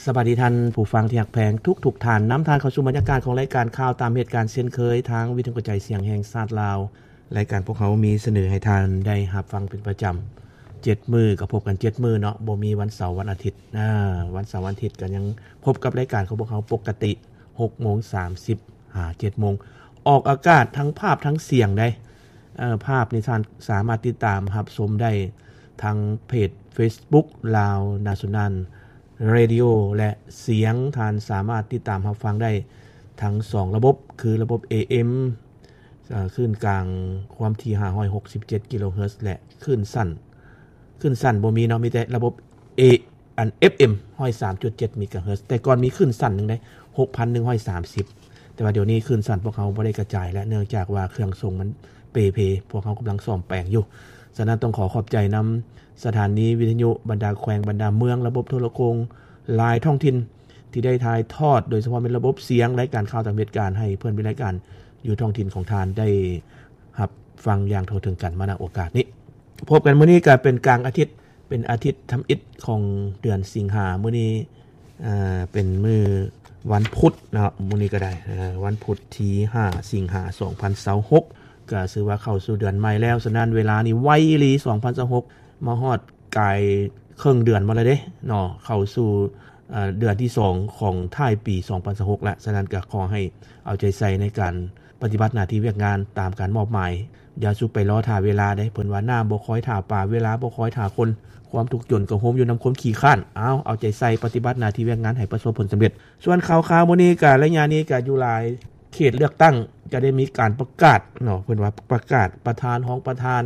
ສະບາຍດີທ່ານຜູ້ຟັງທີ່ຮັກແພງທຸກໆທ່ານ, ນຳທ່ານເຂົ້າສູ່ບັນຍາກາດຂອງລາຍການຂ່າວຕາມເຫດການເຊັ່ນເຄີຍ ທາງວິທະຍຸກະຈາຍສຽງແຫ່ງຊາດລາວ. ລາຍການພວກເຮົາມີສະເໜີໃຫ້ທ່ານໄດ້ຮັບຟັງເປັນປະຈຳ ເຈັດມື້ ກໍພົບກັນເຈັດມື້ເນາະ, ບໍ່ມີວັນເສົາວັນອາທິດ. ອາ ວັນເສົາວັນອາທິດກໍຍັງພົບກັບລາຍການຂອງພວກເຮົາປົກກະຕິ ຫົກໂມງສາມສິບຫາເຈັດໂມງ ອອກອາກາດທັງພາບທັງສຽງໄດ໋. ເອີ ພາບນີ້ທ່ານສາມາດຕິດຕາມຮັບຊົມໄດ້ທາງເພຈເຟສບຸກ Lao National Radio ແລະ ສຽງທ່ານສາມາດຕິດຕາມຮັບຟັງໄດ້ທັງສອງລະບົບ ຄືລະບົບ ເອເອັມ ເອີ ຄື້ນກາງຄວາມຖີ່ ຫ້າຮ້ອຍຫົກສິບເຈັດ ກິໂລເຮີດ ແລະ ຄື້ນສັ້ນ ຄື້ນສັ້ນບໍ່ມີເນາະ, ມີແຕ່ລະບົບ ເອ ອັນ ເອັຟເອັມ ຮ້ອຍສາມຈຸດເຈັດ ເມກາເຮີດ. ແຕ່ກ່ອນມີຄື້ນສັ້ນໜຶ່ງເດ້ ຫົກພັນໜຶ່ງຮ້ອຍສາມສິບ ແຕ່ວ່າດຽວນີ້ຄື້ນສັ້ນພວກເຮົາບໍ່ໄດ້ກະຈາຍແລ້ວ ເນື່ອງຈາກວ່າເຄື່ອງສົ່ງມັນເປ່ເພ, ພວກເຮົາກຳລັງສ້ອມແປງຢູ່. ສະນັ້ນຕ້ອງຂໍຂອບໃຈນຳສະຖານີວິທະຍຸບັນດາແຂວງ, ບັນດາເມືອງ, ລະບົບໂທລະໂຂງຫຼາຍທ້ອງຖິ່ນ ທີ່ໄດ້ຖ່າຍທອດ ໂດຍສະເພາະແມ່ນລະບົບສຽງ ລາຍການຂ່າວຕາມເຫດການ ໃຫ້ເພື່ອນເປັນລາຍການຢູ່ທ້ອງຖິ່ນຂອງທ່ານໄດ້ຮັບຟັງຢ່າງທົ່ວເຖິງກັນມາ ນ ໂອກາດນີ້. ພົບກັນມື້ນີ້ກໍເປັນກາງອາທິດ ເປັນອາທິດທຳອິດຂອງເດືອນສິງຫາ. ມື້ນີ້ ເອີ ເປັນມື້ວັນພຸດເນາະ, ມື້ນີ້ກໍໄດ້ ເອີ ວັນພຸດທີຫ້າ ສິງຫາ ສອງພັນຊາວຫົກ ກໍຖືວ່າເຂົ້າສູ່ເດືອນໃໝ່ແລ້ວ. ສະນັ້ນເວລານີ້ໄວອີ່ຫຼີ ສອງພັນຊາວຫົກ ມາຮອດກາຍເຄິ່ງເດືອນມາແລ້ວເດ້ເນາະ, ເຂົ້າສູ່ ເອີ ເດືອນທີສອງຂອງທ້າຍປີສອງພັນຊາວຫົກແລ້ວ. ສະນັ້ນກໍຂໍໃຫ້ເອົາໃຈໃສ່ໃນການປະຕິບັດໜ້າທີ່ວຽກງານຕາມການມອບໝາຍ. ຢ່າສູ່ໄປລໍຖ້າເວລາເດ້, ເພິ່ນວ່ານ້ຳບໍ່ຄອຍຖ້າປາ, ເວລາບໍ່ຄອຍຖ້າຄົນ, ຄວາມທຸກຈົນກໍໂຮມຢູ່ນຳຄວາມຂີ້ຄ້ານ. ເອົາ, ເອົາໃຈໃສ່ປະຕິບັດໜ້າທີ່ວຽກງານໃຫ້ປະສົບຜົນສຳເລັດ. ສ່ວນຂ່າວຄາວມື້ນີ້ກໍໄລຍະນີ້ກໍຢູ່ຫຼາຍເຂດເລືອກຕັ້ງ ຈະໄດ້ມີການປະກາດເນາະ, ເພິ່ນວ່າປະກາດປະທານ, ຮອງປະທານ,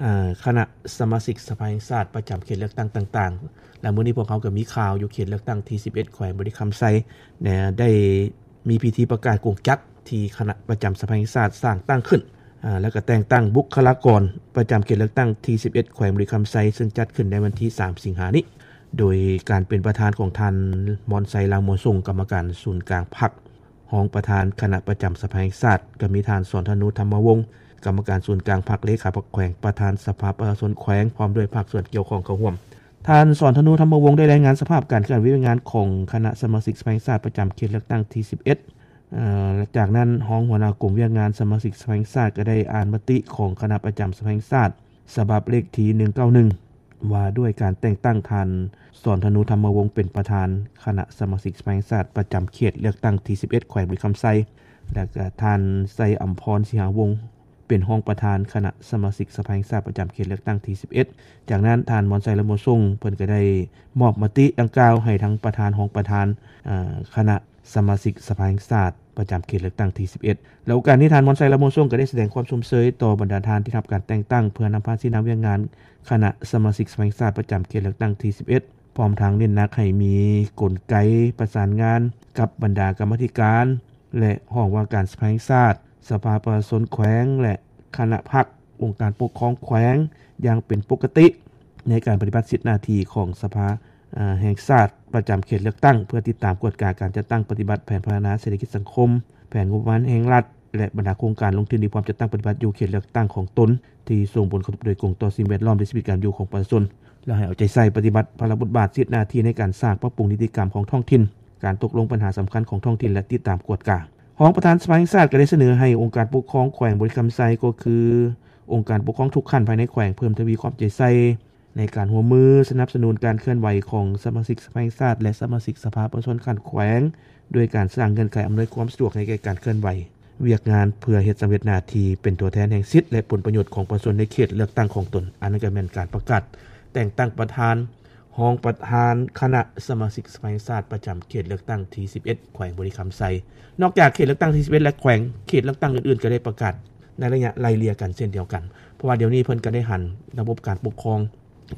ເອີ ຄະນະສະມາຊິກສະພາແຫ່ງຊາດປະຈຳເຂດເລືອກຕັ້ງຕ່າງໆ. ແລະ ມື້ນີ້ພວກເຮົາກໍມີຂ່າວຢູ່ເຂດເລືອກຕັ້ງທີສິບເອັດ ແຂວງບໍລິຄຳໄຊ ແນະ ໄດ້ມີພິທີປະກາດກົງຈັກທີ່ຄະນະປະຈຳສະພາແຫ່ງຊາດສ້າງຕັ້ງຂຶ້ນ ອາ ແລ້ວກໍແຕ່ງຕັ້ງບຸກຄະລາກອນປະຈຳເຂດເລືອກຕັ້ງທີສິບເອັດ ແຂວງບໍລິຄຳໄຊ ເຊິ່ງຈັດຂຶ້ນໃນວັນທີສາມ ສິງຫານີ້ ໂດຍການເປັນປະທານຂອງທ່ານ ມອນໄຊ ລາວມົວຊົງ ກຳມະການສູນກາງພັກ, ຮອງປະທານຄະນະປະຈຳສະພາແຫ່ງຊາດ, ກໍມີທ່ານ ສອນທະນູ ທຳມະວົງ ກຳມະການສູນກາງພັກ, ເລຂາພັກແຂວງ, ປະທານສະພາປະຊາຊົນແຂວງ ພ້ອມດ້ວຍພາກສ່ວນກ່ຽວຂ້ອງເຂົ້າຮ່ວມ. ທ່ານ ສອນທະນູ ທຳມະວົງ ໄດ້ລາຍງານສະພາບການເຄື່ອນໄຫວວຽກງານຂອງຄະນະສະມາຊິກສະພາແຫ່ງຊາດປະຈຳເຂດເລືອກຕັ້ງທີສິບເອັດ. ເອີ ຈາກນັ້ນ ຮອງຫົວໜ້າກົມວຽກງານສະມາຊິກສະພາແຫ່ງຊາດ ກໍໄດ້ອ່ານມະຕິຂອງຄະນະປະຈຳສະພາແຫ່ງຊາດ ສະບັບເລກທີໜຶ່ງເກົ້າໜຶ່ງ ວ່າດ້ວຍການແຕ່ງຕັ້ງທ່ານ ສອນທະນູ ທຳມະວົງ ເປັນປະທານຄະນະສະມາຊິກສະພາແຫ່ງຊາດປະຈຳເຂດເລືອກຕັ້ງທີສິບເອັດ ແຂວງບໍລິຄຳໄຊ ແລະ ກໍທ່ານ ໄຊອຳພອນ ສີຫາວົງ ເປັນຮອງປະທານຄະນະສະມາຊິກສະພາແຫ່ງຊາດປະຈຳເຂດເລືອກຕັ້ງທີສິບເອັດ. ຈາກນັ້ນ ທ່ານ ມອນໄຊ ລາວມົວຊົງ ເພິ່ນກໍໄດ້ມອບມະຕິດັ່ງກ່າວໃຫ້ທັງປະທານ, ຮອງປະທານ, ເອີ ຄະນະສະມາຊິກສະພາແຫ່ງຊາດປະຈຳເຂດເລືອກຕັ້ງທີສິບເອັດ. ແລະ ໂອກາດນີ້ ທ່ານ ມອນໄຊ ລາວມົວຊົງ ກໍໄດ້ສະແດງຄວາມຊົມເຊີຍຕໍ່ບັນດາທ່ານທີ່ຮັບການແຕ່ງຕັ້ງ ເພື່ອນຳພາຊີ້ນຳວຽກງານຄະນະສະມາຊິກສະພາແຫ່ງຊາດປະຈຳເຂດເລືອກຕັ້ງທີສິບເອັດ ພ້ອມທັງເນັ້ນໜັກໃຫ້ມີກົນໄກປະສານງານກັບບັນດາກຳມາທິການ ແລະ ຫ້ອງວ່າການສະພາແຫ່ງຊາດ, ສະພາປະຊາຊົນແຂວງ ແລະ ຄະນະພັກ, ອົງການປົກຄອງແຂວງຢ່າງເປັນປົກກະຕິ ໃນການປະຕິບັດສິດໜ້າທີ່ຂອງສະພາ ເອີ ແຫ່ງຊາດປະຈຳເຂດເລືອກຕັ້ງ ເພື່ອຕິດຕາມກວດກາການຈັດຕັ້ງປະຕິບັດແຜນພັດທະນາເສດຖະກິດສັງຄົມ, ແຜນງົບປະມານແຫ່ງລັດ ແລະ ບັນດາໂຄງການລົງທຶນທີ່ພ້ອມຈັດຕັ້ງປະຕິບັດຢູ່ເຂດເລືອກຕັ້ງຂອງຕົນ ທີ່ສົ່ງຜົນກະທົບໂດຍກົງຕໍ່ສິ່ງແວດລ້ອມ ແລະ ຊີວິດການຢູ່ຂອງປະຊາຊົນ ແລະ ໃຫ້ເອົາໃຈໃສ່ປະຕິບັດພາລະບົດບາດສິດໜ້າທີ່ໃນການສ້າງປັບປຸງນິຕິກຳຂອງທ້ອງຖິ່ນ, ການຕົກລົງບັນຫາສຳຄັນຂອງທ້ອງຖິ່ນ ແລະ ຕິດຕາມກວດກາ. ຮອງປະທານສະພາແຫ່ງຊາດກໍໄດ້ສະເໜີໃຫ້ອົງການປົກຄອງແຂວງບໍລິຄຳໄຊ ກໍຄືອົງການປົກຄອງທຸກຂັ້ນພາຍໃນແຂວງ ເພີ່ມທະວີຄວາມເອົາໃຈໃສ່ໃນການຮ່ວມມືສະໜັບສະໜູນການເຄື່ອນໄຫວຂອງສະມາຊິກສະພາແຫ່ງຊາດ ແລະ ສະມາຊິກສະພາປະຊາຊົນຂັ້ນແຂວງ ດ້ວຍການສ້າງເງື່ອນໄຂອຳນວຍຄວາມສະດວກໃຫ້ແກ່ການເຄື່ອນໄຫວວຽກງານ ເພື່ອເຮັດສຳເລັດໜ້າທີ່ເປັນຕົວແທນແຫ່ງສິດ ແລະ ຜົນປະໂຫຍດຂອງປະຊາຊົນໃນເຂດເລືອກຕັ້ງຂອງຕົນ. ອັນນັ້ນກໍແມ່ນການປະກາດແຕ່ງຕັ້ງປະທານ, ຮອງປະທານຄະນະສະມາຊິກສະພາແຫ່ງຊາດປະຈຳເຂດເລືອກຕັ້ງທີສິບເອັດ ແຂວງບໍລິຄຳໄຊ. ນອກຈາກເຂດເລືອກຕັ້ງທີສິບເອັດ ແລະ ແຂວງ, ເຂດເລືອກຕັ້ງອື່ນໆ ກໍໄດ້ປະກາດໃນໄລຍະໄລ່ເລ່ຍກັນເຊັ່ນດຽວກັນ, ເພາະວ່າດຽວນີ້ເພິ່ນກໍໄດ້ຫັນລະບົບການປົກຄອງ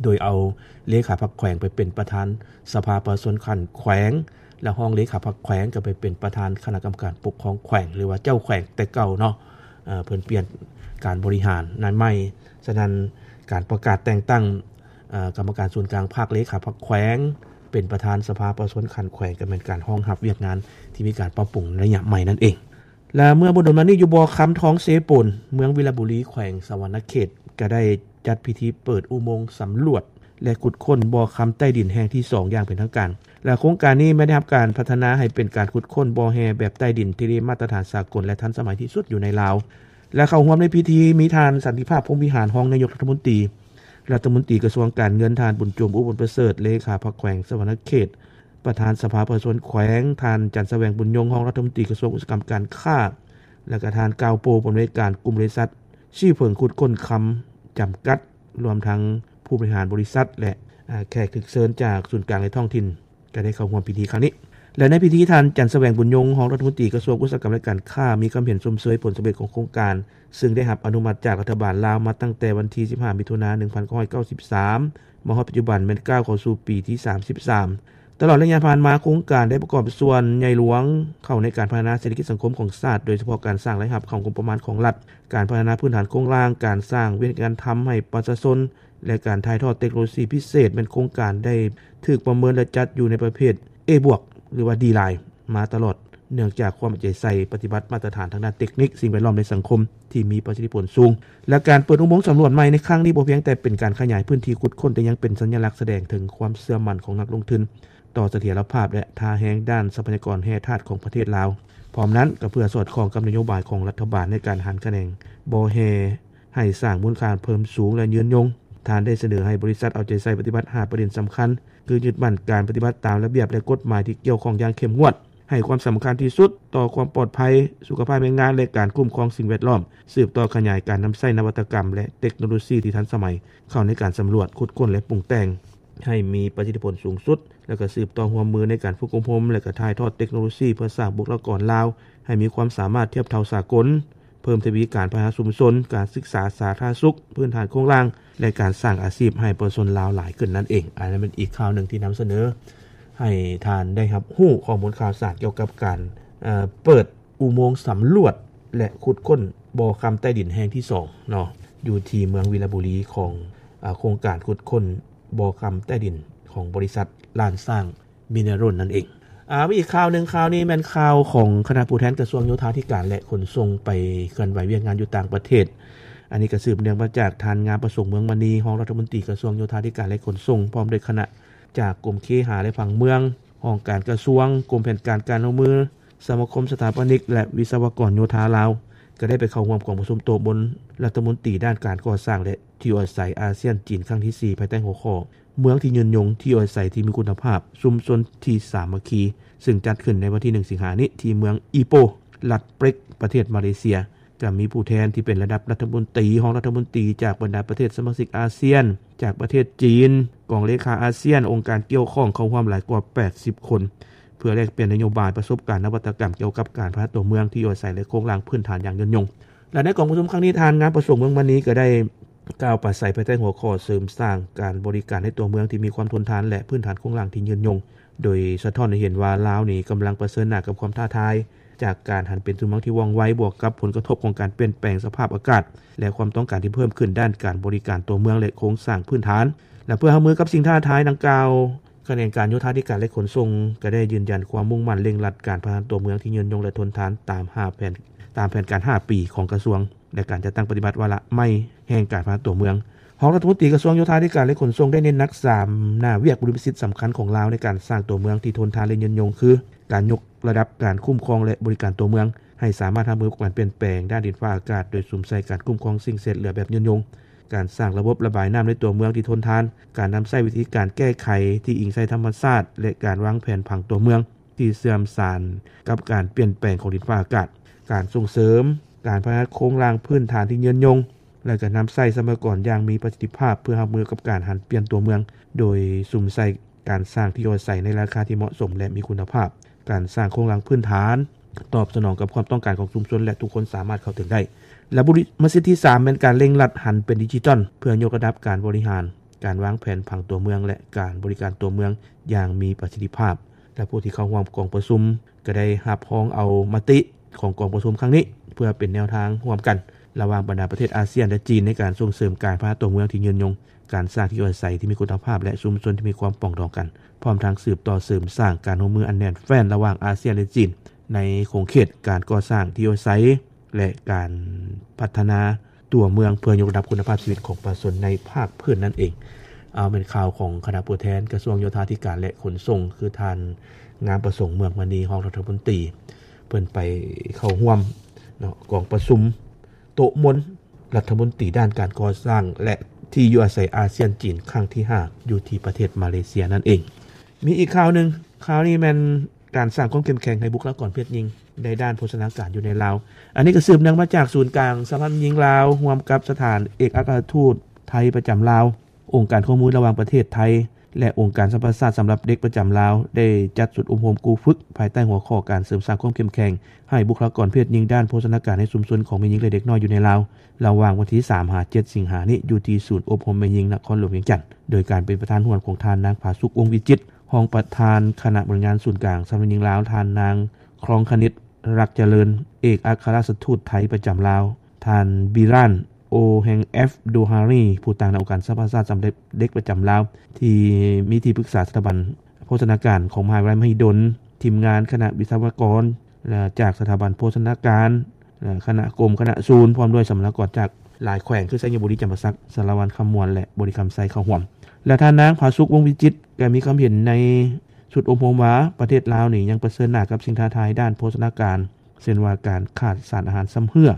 ໂດຍເອົາເລຂາພັກແຂວງໄປເປັນປະທານສະພາປະຊາຊົນຂັ້ນແຂວງ ແລະ ຮອງເລຂາພັກແຂວງກໍໄປເປັນປະທານຄະນະກຳມະການປົກຄອງແຂວງ ຫຼືວ່າເຈົ້າແຂວງແຕ່ເກົ່າເນາະ. ເອີ ເພິ່ນປ່ຽນການບໍລິຫານໃນໃໝ່. ສະນັ້ນ ການປະກາດແຕ່ງຕັ້ງ ເອີ ກຳມະການສູນກາງພັກ, ເລຂາພັກແຂວງ ເປັນປະທານສະພາປະຊາຊົນຂັ້ນແຂວງ ກໍແມ່ນການຮອງຮັບວຽກງານທີ່ມີການປັບປຸງໃນໄລຍະໃໝ່ນັ້ນເອງ. ແລະ ເມື່ອບໍ່ດົນມານີ້ ຢູ່ບໍ່ຄຳ ທອງເຊໂປນ ເມືອງວິລະບູລີ ແຂວງສະຫວັນນະເຂດ ກໍໄດ້ຈັດພິທີເປີດອຸໂມງສຳຫຼວດ ແລະ ຂຸດຄົ້ນບໍ່ຄຳໃຕ້ດິນແຫ່ງທີສອງຢ່າງເປັນທາງການ. ແລະໂຄງການນີ້ແມ່ນໄດ້ຮັບການພັດທະນາໃຫ້ເປັນການຂຸດຄົ້ນບໍ່ແຮ່ແບບໃຕ້ດິນທີ່ໄດ້ມາດຕະຖານສາກົນ ແລະທັນສະໄໝທີ່ສຸດຢູ່ໃນລາວ. ແລະເຂົ້າຮ່ວມໃນພິທີມີທ່ານ ສັນຕິພາບ ພົມວິຫານ ຮອງນາຍົກລັດຖະມົນຕີ, ລັດຖະມົນຕີກະຊວງການເງິນ, ທ່ານ ບຸນໂຈມ ອຸບົນປະເສີດ ເລຂາພັກແຂວງສະຫວັນນະເຂດ, ປະທານສະພາປະຊາຊົນແຂວງ, ທ່ານ ຈັນສະແຫວງ ບຸນຍົງ ຮອງລັດຖະມົນຕີກະຊວງອຸດສາຫະກຳການຄ້າ ແລະກະທ່ານ ກ່າວໂປ ຜູ້ອຳນວຍການກຸ່ມບໍລິສັດ ຊີເຜິງຂຸດຄົ້ນຄຳຈຳກັດ, ລວມທັງຜູ້ບໍລິຫານບໍລິສັດ ແລະແຂກຖືກເຊີນຈາກສູນກາງ ແລະທ້ອງຖິ່ນ ກໍໄດ້ເຂົ້າຮ່ວມພິທີຄັ້ງນີ້. ແລະໃນພິທີ ທ່ານ ຈັນສະແຫວງ ບຸນຍົງ ຮອງລັດຖະມົນຕີກະຊວງອຸດສາຫະກຳ ແລະການຄ້າ ມີຄວາມເຫັນຊົມເຊີຍຜົນສຳເລັດຂອງໂຄງການ ຊຶ່ງໄດ້ຮັບອະນຸມັດຈາກລັດຖະບານລາວມາຕັ້ງແຕ່ວັນທີສິບຫ້າ ມິຖຸນາ ໜຶ່ງພັນເກົ້າຮ້ອຍເກົ້າສິບສາມ ມາຮອດປັດຈຸບັນແມ່ນກ້າວເຂົ້າສູ່ປີທີສາມສິບສາມ. ຕະຫຼອດໄລຍະຜ່ານມາ, ໂຄງການໄດ້ປະກອບສ່ວນໃຫຍ່ຫຼວງເຂົ້າໃນການພັດທະນາເສດຖະກິດສັງຄົມຂອງຊາດ, ໂດຍສະເພາະການສ້າງລາຍຮັບເຂົ້າງົບປະມານຂອງລັດ, ການພັດທະນາພື້ນຖານໂຄງລ່າງ, ການສ້າງວຽກງານທຳໃຫ້ປະຊາຊົນ ແລະ ການຖ່າຍທອດເຕັກໂນໂລຊີພິເສດ ແມ່ນໂຄງການໄດ້ຖືກປະເມີນ ແລະ ຈັດຢູ່ໃນປະເພດ A ບວກ ຫຼືວ່າ D ລາຍ ມາຕະຫຼອດ, ເນື່ອງຈາກຄວາມເອົາໃຈໃສ່ປະຕິບັດມາດຕະຖານທາງດ້ານເຕັກນິກ, ສິ່ງແວດລ້ອມ ແລະ ສັງຄົມທີ່ມີປະສິດທິຜົນສູງ. ແລະ ການເປີດອຸໂມງສຳຫຼວດໃໝ່ໃນຄັ້ງນີ້ ບໍ່ພຽງແຕ່ເປັນການຂະຫຍາຍພື້ນທີ່ຂຸດຄົ້ນ, ແຕ່ຍັງເປັນສັນຍະລັກສະແດງເຖິງຄວາມເຊື່ອໝັ້ນຂອງນັກລົງທຶນຕໍ່ສະຖຽນລະພາບ ແລະ ທ່າແຮງດ້ານຊັບພະຍາກອນແຮ່ທາດຂອງປະເທດລາວ. ພ້ອມນັ້ນ, ກໍເພື່ອສອດຄ່ອງກັບນະໂຍບາຍຂອງລັດຖະບານໃນການຫັນຂະແໜງບໍ່ແຮ່ ໃຫ້ສ້າງມູນຄ່າເພີ່ມສູງ ແລະ ຍືນຍົງ, ທ່ານໄດ້ສະເໜີໃຫ້ບໍລິສັດເອົາໃຈໃສ່ປະຕິບັດຫ້າປະເດັນສຳຄັນ ຄື ຍຶດໝັ້ນການປະຕິບັດຕາມລະບຽບ ແລະ ກົດໝາຍທີ່ກ່ຽວຂ້ອງຢ່າງເຂັ້ມງວດ, ໃຫ້ຄວາມສຳຄັນທີ່ສຸດຕໍ່ຄວາມປອດໄພ, ສຸຂະພາບແຮງງານ ແລະ ການຄຸ້ມຄອງສິ່ງແວດລ້ອມ, ສືບຕໍ່ຂະຫຍາຍການນຳໃຊ້ນະວັດຕະກຳ ແລະ ເຕັກໂນໂລຊີທີ່ທັນສະໄໝເຂົ້າໃນການສຳຫຼວດ, ຂຸດຄົ້ນ ແລະ ປຸງແຕ່ງໃຫ້ມີປະສິດທິຜົນສູງສຸດ, ແລະ ກໍສືບຕໍ່ຮ່ວມມືໃນການຝຶກອົບຮົມ ແລະ ກໍຖ່າຍທອດເຕັກໂນໂລຊີເພື່ອສ້າງບຸກລະກອນລາວໃຫ້ມີຄວາມສາມາດທຽບເທົ່າສາກົນ. ເພີ່ມທະວີການພັດທະນາຊຸມຊົນ, ການສຶກສາສາທາລະນະສຸກ, ພື້ນຖານໂຄງລ່າງ ແລະ ການສ້າງອາຊີບໃຫ້ປະຊາຊົນລາວຫຼາຍຂຶ້ນນັ້ນເອງ. ອັນນັ້ນເປັນອີກຂ່າວໜຶ່ງທີ່ນຳສະເໜີໃຫ້ທ່ານໄດ້ຮັບຮູ້ຂໍ້ມູນຂ່າວສານກ່ຽວກັບການ, ເອີ, ເປີດອຸໂມງສຳຫຼວດ ແລະ ຂຸດຄົ້ນບໍ່ຄຳໃຕ້ດິນແຫ່ງທີສອງເນາະ, ຢູ່ທີ່ເມືອງວິລະບູລີຂອງ, ເອີ, ໂຄງການຂຸດຄົ້ນບໍ່ຄຳໃຕ້ດິນຂອງບໍລິສັດລ້ານຊ້າງ ມິນເນຣອນນັ້ນເອງ. ອາ ມີອີກຂ່າວໜຶ່ງ, ຂ່າວນີ້ແມ່ນຂ່າວຂອງຄະນະຜູ້ແທນກະຊວງໂຍທາທິການ ແລະ ຂົນສົ່ງ ໄປເຄື່ອນໄຫວວຽກງານຢູ່ຕ່າງປະເທດ. ອັນນີ້ກໍສືບເນື່ອງມາຈາກທ່ານ ງາມປະສົງ ເມືອງມະນີ ຮອງລັດຖະມົນຕີກະຊວງໂຍທາທິການ ແລະ ຂົນສົ່ງ ພ້ອມດ້ວຍຄະນະຈາກກົມເຄຫາ ແລະ ຜັງເມືອງ, ຫ້ອງການກະຊວງ, ກົມແຜນການການຮ່ວມມື, ສະມາຄົມສະຖາປະນິກ ແລະ ວິສະວະກອນໂຍທາລາວ ກໍໄດ້ໄປເຂົ້າຮ່ວມກອງປະຊຸມໂຕະບົນລັດຖະມົນຕີດ້ານການກໍ່ສ້າງ ແລະ ທີ່ຢູ່ອາໄສອາຊຽນ-ຈີນ ຄັ້ງທີສີ່ ພາຍໃຕ້ຫົວຂໍ້ ເມືອງທີ່ຍືນຍົງ, ທີ່ຢູ່ອາໄສທີ່ມີຄຸນນະພາບ, ຊຸມຊົນທີ່ສາມັກຄີ, ຊຶ່ງຈັດຂຶ້ນໃນວັນທີໜຶ່ງ ສິງຫານີ້ ທີ່ເມືອງອີໂປ ລັດເປັກ ປະເທດມາເລເຊຍ, ກໍມີຜູ້ແທນທີ່ເປັນລະດັບລັດຖະມົນຕີ, ຮອງລັດຖະມົນຕີ ຈາກບັນດາປະເທດສະມາຊິກອາຊຽນ, ຈາກປະເທດຈີນ, ກອງເລຂາອາຊຽນ, ອົງການກ່ຽວຂ້ອງເຂົ້າຮ່ວມຫຼາຍກວ່າແປດສິບຄົນ ເພື່ອແລກປ່ຽນນະໂຍບາຍ, ປະສົບການ, ນະວັດຕະກຳກ່ຽວກັບການພັດທະນາຕົວເມືອງ, ທີ່ຢູ່ອາໄສ ແລະ ໂຄງລ່າງພື້ນຖານຢ່າງຍືນຍົງ. ແລະ ໃນກອງປະຊຸມຄັ້ງນີ້, ທ່ານ ງາມປະສົງ ເມືອງມະນີ ກໍໄດ້ ກ່າວປາໄສພາຍໃຕ້ຫົວຂໍ້ ເສີມສ້າງການບໍລິການໃນຕົວເມືອງທີ່ມີຄວາມທົນທານ ແລະ ພື້ນຖານໂຄງລ່າງທີ່ຍືນຍົງ, ໂດຍສະທ້ອນໃຫ້ເຫັນວ່າລາວນີ້ກຳລັງປະເຊີນໜ້າກັບຄວາມທ້າທາຍ ຈາກການຫັນເປັນຕົວເມືອງທີ່ວ່ອງໄວ ບວກກັບຜົນກະທົບຂອງການປ່ຽນແປງສະພາບອາກາດ ແລະ ຄວາມຕ້ອງການທີ່ເພີ່ມຂຶ້ນດ້ານການບໍລິການຕົວເມືອງ ແລະ ໂຄງສ້າງພື້ນຖານ. ແລະ ເພື່ອຮັບມືກັບສິ່ງທ້າທາຍດັ່ງກ່າວ, ຂະແໜງການໂຍທາທິການ ແລະ ຂົນສົ່ງ ກໍໄດ້ຢືນຢັນຄວາມມຸ່ງໝັ້ນເລັ່ງລັດການພັດທະນາຕົວເມືອງທີ່ຍືນຍົງ ແລະ ທົນທານ ຕາມຫ້າແຜນ, ຕາມແຜນການຫ້າປີຂອງກະຊວງ ແລະ ການຈັດຕັ້ງປະຕິບັດວາລະໃໝ່ແຫ່ງການພັດທະນາຕົວເມືອງ. ຮອງລັດຖະມົນຕີກະຊວງໂຍທາທິການ ແລະ ຂົນສົ່ງ ໄດ້ເນັ້ນໜັກສາມໜ້າວຽກບຸລິມະສິດສຳຄັນຂອງລາວໃນການສ້າງຕົວເມືອງທີ່ທົນທານ ແລະ ຍືນຍົງ ຄື ການຍົກລະດັບການຄຸ້ມຄອງ ແລະ ບໍລິການຕົວເມືອງໃຫ້ສາມາດຮັບມືກັບການປ່ຽນແປງດ້ານດິນຟ້າອາກາດ ໂດຍສຸມໃສ່ການຄຸ້ມຄອງສິ່ງເສດເຫຼືອແບບຍືນຍົງ, ການສ້າງລະບົບລະບາຍນ້ຳໃນຕົວເມືອງທີ່ທົນທານ, ການນຳໃຊ້ວິທີການແກ້ໄຂທີ່ອີງໃສ່ທຳມະຊາດ ແລະ ການວາງແຜນຜັງຕົວເມືອງ ທີ່ເຊື່ອມສານກັບການປ່ຽນແປງຂອງດິນຟ້າອາກາດ, ການສົ່ງເສີມການພັດທະນາໂຄງລ່າງພື້ນຖານທີ່ຍືນຍົງ ແລະ ການນຳໃຊ້ຊັບພະຍາກອນຢ່າງມີປະສິດທິພາບ ເພື່ອຮັບມືກັບການຫັນປ່ຽນຕົວເມືອງ, ໂດຍສຸມໃສ່ການສ້າງທີ່ຢູ່ອາໄສໃນລາຄາທີ່ເໝາະສົມ ແລະ ມີຄຸນນະພາບ, ການສ້າງໂຄງລ່າງພື້ນຖານຕອບສະໜອງກັບຄວາມຕ້ອງການຂອງຊຸມຊົນ ແລະ ທຸກຄົນສາມາດເຂົ້າເຖິງໄດ້. ແລະ ບຸລິມະສິດທີສາມ ແມ່ນການເລັ່ງລັດຫັນເປັນດິຈິຕອນ ເພື່ອຍົກລະດັບການບໍລິຫານ, ການວາງແຜນຜັງຕົວເມືອງ ແລະ ການບໍລິການຕົວເມືອງຢ່າງມີປະສິດທິພາບ. ແລະ ຜູ້ທີ່ເຂົ້າຮ່ວມກອງປະຊຸມກໍໄດ້ຮັບຮອງເອົາມະຕິຂອງກອງປະຊຸມຄັ້ງນີ້ ເພື່ອເປັນແນວທາງຮ່ວມກັນລະຫວ່າງບັນດາປະເທດອາຊຽນ ແລະ ຈີນ ໃນການສົ່ງເສີມການພັດທະນາຕົວເມືອງທີ່ຍືນຍົງ, ການສ້າງທີ່ຢູ່ອາໄສທີ່ມີຄຸນນະພາບ ແລະ ຊຸມຊົນທີ່ມີຄວາມປອງດອງກັນ, ພ້ອມທັງສືບຕໍ່ເສີມສ້າງການຮ່ວມມືອັນແໜ້ນແຟ້ນລະຫວ່າງອາຊຽນ ແລະ ຈີນ ໃນຂົງເຂດການກໍ່ສ້າງທີ່ຢູ່ອາໄສ ແລະ ການພັດທະນາຕົວເມືອງ ເພື່ອຍົກລະດັບຄຸນນະພາບຊີວິດຂອງປະຊາຊົນໃນພາກພື້ນນັ້ນເອງ. ເອົາແມ່ນຂ່າວຂອງຄະນະຜູ້ແທນກະຊວງໂຍທາທິການ ແລະ ຂົນສົ່ງ ຄືທ່ານ ງາມປະສົງ ເມືອງມະນີ ຮອງລັດຖະມົນຕີ ເພິ່ນໄປເຂົ້າຮ່ວມເນາະ ກອງປະຊຸມໂຕະມົນລັດຖະມົນຕີດ້ານການກໍ່ສ້າງ ແລະ ທີ່ຢູ່ອາໄສອາຊຽນຈີນ ຄັ້ງທີຫ້າ ຢູ່ທີ່ປະເທດມາເລເຊຍນັ້ນເອງ. ມີອີກຂ່າວໜຶ່ງ, ຂ່າວນີ້ແມ່ນການສ້າງຄວາມເຂັ້ມແຂງໃຫ້ບຸກຄະລາກອນເພດຍິງໃນດ້ານໂພຊະນາການຢູ່ໃນລາວ. ອັນນີ້ກໍສືບເນື່ອງມາຈາກສູນກາງສະຫະພັນຍິງລາວ ຮ່ວມກັບສະຖານເອກອັກຄະລັດທູດໄທປະຈຳລາວ, ອົງການຄວາມຮ່ວມມືລະຫວ່າງປະເທດໄທ ແລະ ອົງການສະຫະປະຊາຊາດສຳລັບເດັກປະຈຳລາວ ໄດ້ຈັດຊຸດອົບຮົມກູ້ຝຶກ ພາຍໃຕ້ຫົວຂໍ້ການເສີມສ້າງຄວາມເຂັ້ມແຂງໃຫ້ບຸກຄະລາກອນເພດຍິງດ້ານໂພຊະນາການໃນຊຸມຊົນຂອງແມ່ຍິງ ແລະ ເດັກນ້ອຍຢູ່ໃນລາວ ລະຫວ່າງວັນທີສາມຫາເຈັດສິງຫານີ້ ຢູ່ທີ່ສູນອົບຮົມແມ່ຍິງນະຄອນຫຼວງວຽງຈັນ ໂດຍການເປັນປະທານຮ່ວມຂອງທ່ານ ນາງ ຜາສຸກ ວົງວິຈິດ ຮອງປະທານຄະນະບໍລິຫານງານສູນກາງສະຫະພັນຍິງລາວ, ທ່ານ ນາງ ຄອງຄະນິດ ລັກຈະເລີນ ເອກອັກຄະລັດທູດໄທປະຈຳລາວ, ທ່ານ ບິຣານ ໂອແຮງແອັບ ດູຮາຣີ ຜູ້ຕາງໜ້າອົງການສະຫະປະຊາຊາດສຳລັບເດັກປະຈຳລາວ ທີ່ມີທີ່ປຶກສາສະຖາບັນໂພຊະນາການຂອງມະຫາວິທະຍາໄລມະຫິດົນ, ທີມງານຄະນະວິສະວະກອນ ແລະ ຈາກສະຖາບັນໂພຊະນາການ, ແລະ ຄະນະກົມ, ຄະນະສູນ, ພ້ອມດ້ວຍສຳມະນາກອນຈາກຫຼາຍແຂວງ ຄື ໄຊຍະບູລີ, ຈຳປາສັກ, ສາລະວັນຄຳມ່ວນ ແລະ ບໍລິຄຳໄຊ ເຂົ້າຮ່ວມ. ແລະ ທ່ານ ນາງ ຜາສຸກ ວົງວິຈິດ ກໍມີຄວາມເຫັນໃນຊຸດອົບຮົມວ່າ ປະເທດລາວນີ້ຍັງປະເຊີນໜ້າກັບສິ່ງທ້າທາຍດ້ານໂພຊະນາການ ເຊັ່ນວ່າການຂາດສານອາຫານຊຳເຮື້ອ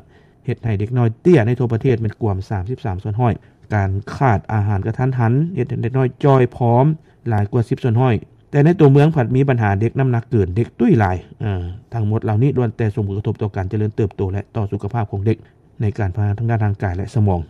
ເຮັດໃຫ້ເດັກນ້ອຍເຕ້ຍໃນທົ່ວປະເທດແມ່ນກວມສາມສິບສາມສ່ວນຮ້ອຍ, ການຂາດອາຫານກະທັນຫັນ ເຮັດໃຫ້ເດັກນ້ອຍຈ່ອຍຜອມຫຼາຍກວ່າສິບສ່ວນຮ້ອຍ, ແຕ່ໃນຕົວເມືອງພັດມີບັນຫາເດັກນ້ຳໜັກເກີນ, ເດັກຕຸ້ຍຫຼາຍ. ເອີ ທັງໝົດເຫຼົ່ານີ້ລ້ວນແຕ່ສົ່ງຜົນກະທົບຕໍ່ການຈະເລີນເຕີບໂຕ ແລະ ຕໍ່ສຸຂະພາບຂອງເດັກໃນການພັດທະນາທາງດ້ານຮ່າງກາຍ ແລະ ສະໝອງ.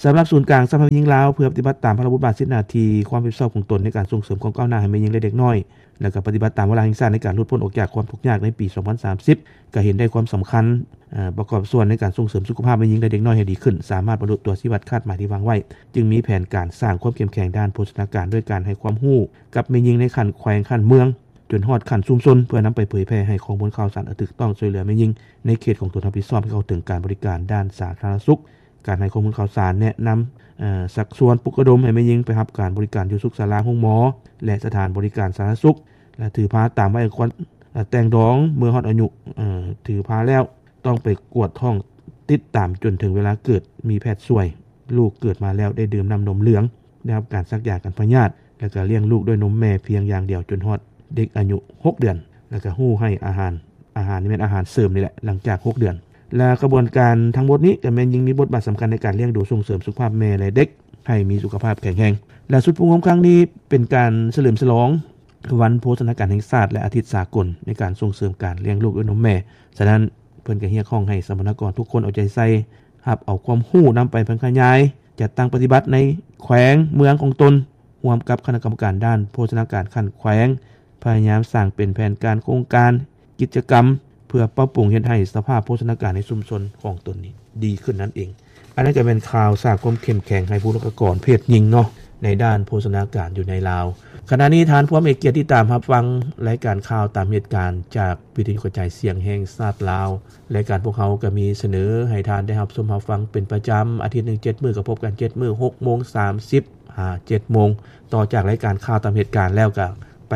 ສຳລັບສູນກາງສະຫະພັນຍິງລາວ ເພື່ອປະຕິບັດຕາມພາລະບົດບາດສິດໜ້າທີ່ຄວາມຮັບຜິດຊອບຂອງຕົນໃນການສົ່ງເສີມຄວາມກ້າວໜ້າໃຫ້ແມ່ຍິງ ແລະ ເດັກນ້ອຍ ແລະ ກໍປະຕິບັດຕາມວາລະແຫ່ງຊາດໃນການຫຼຸດພົ້ນອອກຈາກຄວາມທຸກຍາກໃນປີສອງພັນສາມສິບ ກໍເຫັນໄດ້ຄວາມສຳຄັນ ເອີ ປະກອບສ່ວນໃນການສົ່ງເສີມສຸຂະພາບແມ່ຍິງ ແລະ ເດັກນ້ອຍໃຫ້ດີຂຶ້ນ, ສາມາດບັນລຸຕົວຊີ້ວັດຄາດໝາຍທີ່ວາງໄວ້, ຈຶ່ງມີແຜນການສ້າງຄວາມເຂັ້ມແຂງດ້ານໂພຊະນາການ ດ້ວຍການໃຫ້ຄວາມຮູ້ກັບແມ່ຍິງໃນຂັ້ນແຂວງ, ຂັ້ນເມືອງ, ຈົນຮອດຂັ້ນຊຸມຊົນ ເພື່ອນຳໄປເຜີຍແຜ່ໃຫ້ຂໍ້ມູນຂ່າວສານອັນຖືກຕ້ອງ, ຊ່ວຍເຫຼືອແມ່ຍິງໃນເຂດຂອງຕົນຮັບຜິດຊອບໃຫ້ເຂົ້າເຖິງການບໍລິການດ້ານສາທາລະນະສຸກ, ການໃຫ້ຂໍ້ມູນຂ່າວສານ, ແນະນຳ, ຊັກຊວນ, ປຸກລະດົມໃຫ້ແມ່ຍິງໄປຮັບການບໍລິການຢູ່ສຸກສາລາ, ໂຮງໝໍ ແລະ ສະຖານບໍລິການສາທາລະນະສຸກ ແລະ ຖືພາຕາມໄວອະຄວນແຕ່ງດອງ ເມື່ອຮອດອາຍຸ ຖືພາແລ້ວ ຕ້ອງໄປກວດທ້ອງຕິດຕາມຈົນເຖິງເວລາເກີດ, ມີແພດຊ່ວຍ, ລູກເກີດມາແລ້ວໄດ້ດື່ມນ້ຳນົມເຫຼືອງ, ໄດ້ຮັບການສັກຢາກັນພະຍາດ ແລະ ກໍລ້ຽງລູກດ້ວຍນົມແມ່ພຽງຢ່າງດຽວຈົນຮອດເດັກອາຍຸຫົກເດືອນ ແລະ ກໍຮູ້ໃຫ້ອາຫານ, ອາຫານນີ້ແມ່ນອາຫານເສີມນີ້ແຫຼະ ຫຼັງຈາກຫົກເດືອນ. ແລະ ຂະບວນການທັງໝົດນີ້ກໍແມ່ນຍິ່ງມີບົດບາດສຳຄັນໃນການລ້ຽງດູສົ່ງເສີມສຸຂະພາບແມ່ ແລະ ເດັກໃຫ້ມີສຸຂະພາບແຂງແຮງ. ແລະ ຊຸດຝຶກອົບຮົມຄັ້ງນີ້ເປັນການສະເຫຼີມສະຫຼອງວັນໂພຊະນາການແຫ່ງຊາດ ແລະ ອາທິດສາກົນໃນການສົ່ງເສີມການລ້ຽງລູກດ້ວຍນົມແມ່. ສະນັ້ນ ເພິ່ນກໍຮຽກຮ້ອງໃຫ້ສຳມະນາກອນທຸກຄົນເອົາໃຈໃສ່ ຮັບເອົາຄວາມຮູ້ນຳໄປແຜ່ຂະຫຍາຍ, ຈັດຕັ້ງປະຕິບັດໃນແຂວງເມືອງຂອງຕົນ, ຮ່ວມກັບຄະນະກຳມະການດ້ານໂພຊະນາການຂັ້ນແຂວງ, ພະຍາຍາມສ້າງເປັນແຜນການ, ໂຄງການ, ກິດຈະກຳ ເພື່ອປັບປຸງເຮັດໃຫ້ສະພາບໂພຊະນາການໃນຊຸມຊົນຂອງຕົນນີ້ດີຂຶ້ນນັ້ນເອງ. ອັນນັ້ນກໍແມ່ນຂ່າວສ້າງຄວາມເຂັ້ມແຂງໃຫ້ບຸກຄະລາກອນເພດຍິງເນາະ ໃນດ້ານໂພຊະນາການຢູ່ໃນລາວ. ຂະນະນີ້ທ່ານພວມເອກກຽດຕິດຕາມຮັບຟັງລາຍການຂ່າວຕາມເຫດການຈາກ ວິທະຍຸກະຈາຍສຽງແຫ່ງຊາດລາວ. ລາຍການພວກເຮົາກໍມີສະເໜີໃຫ້ທ່ານໄດ້ຮັບຊົມຮັບຟັງເປັນປະຈຳ, ອາທິດໜຶ່ງເຈັດມື້ກໍພົບກັນເຈັດມື້, ຫົກໂມງສາມສິບຫາເຈັດໂມງ. ຕໍ່ຈາກລາຍການຂ່າວຕາມເຫດການແລ້ວ ກໍໄປ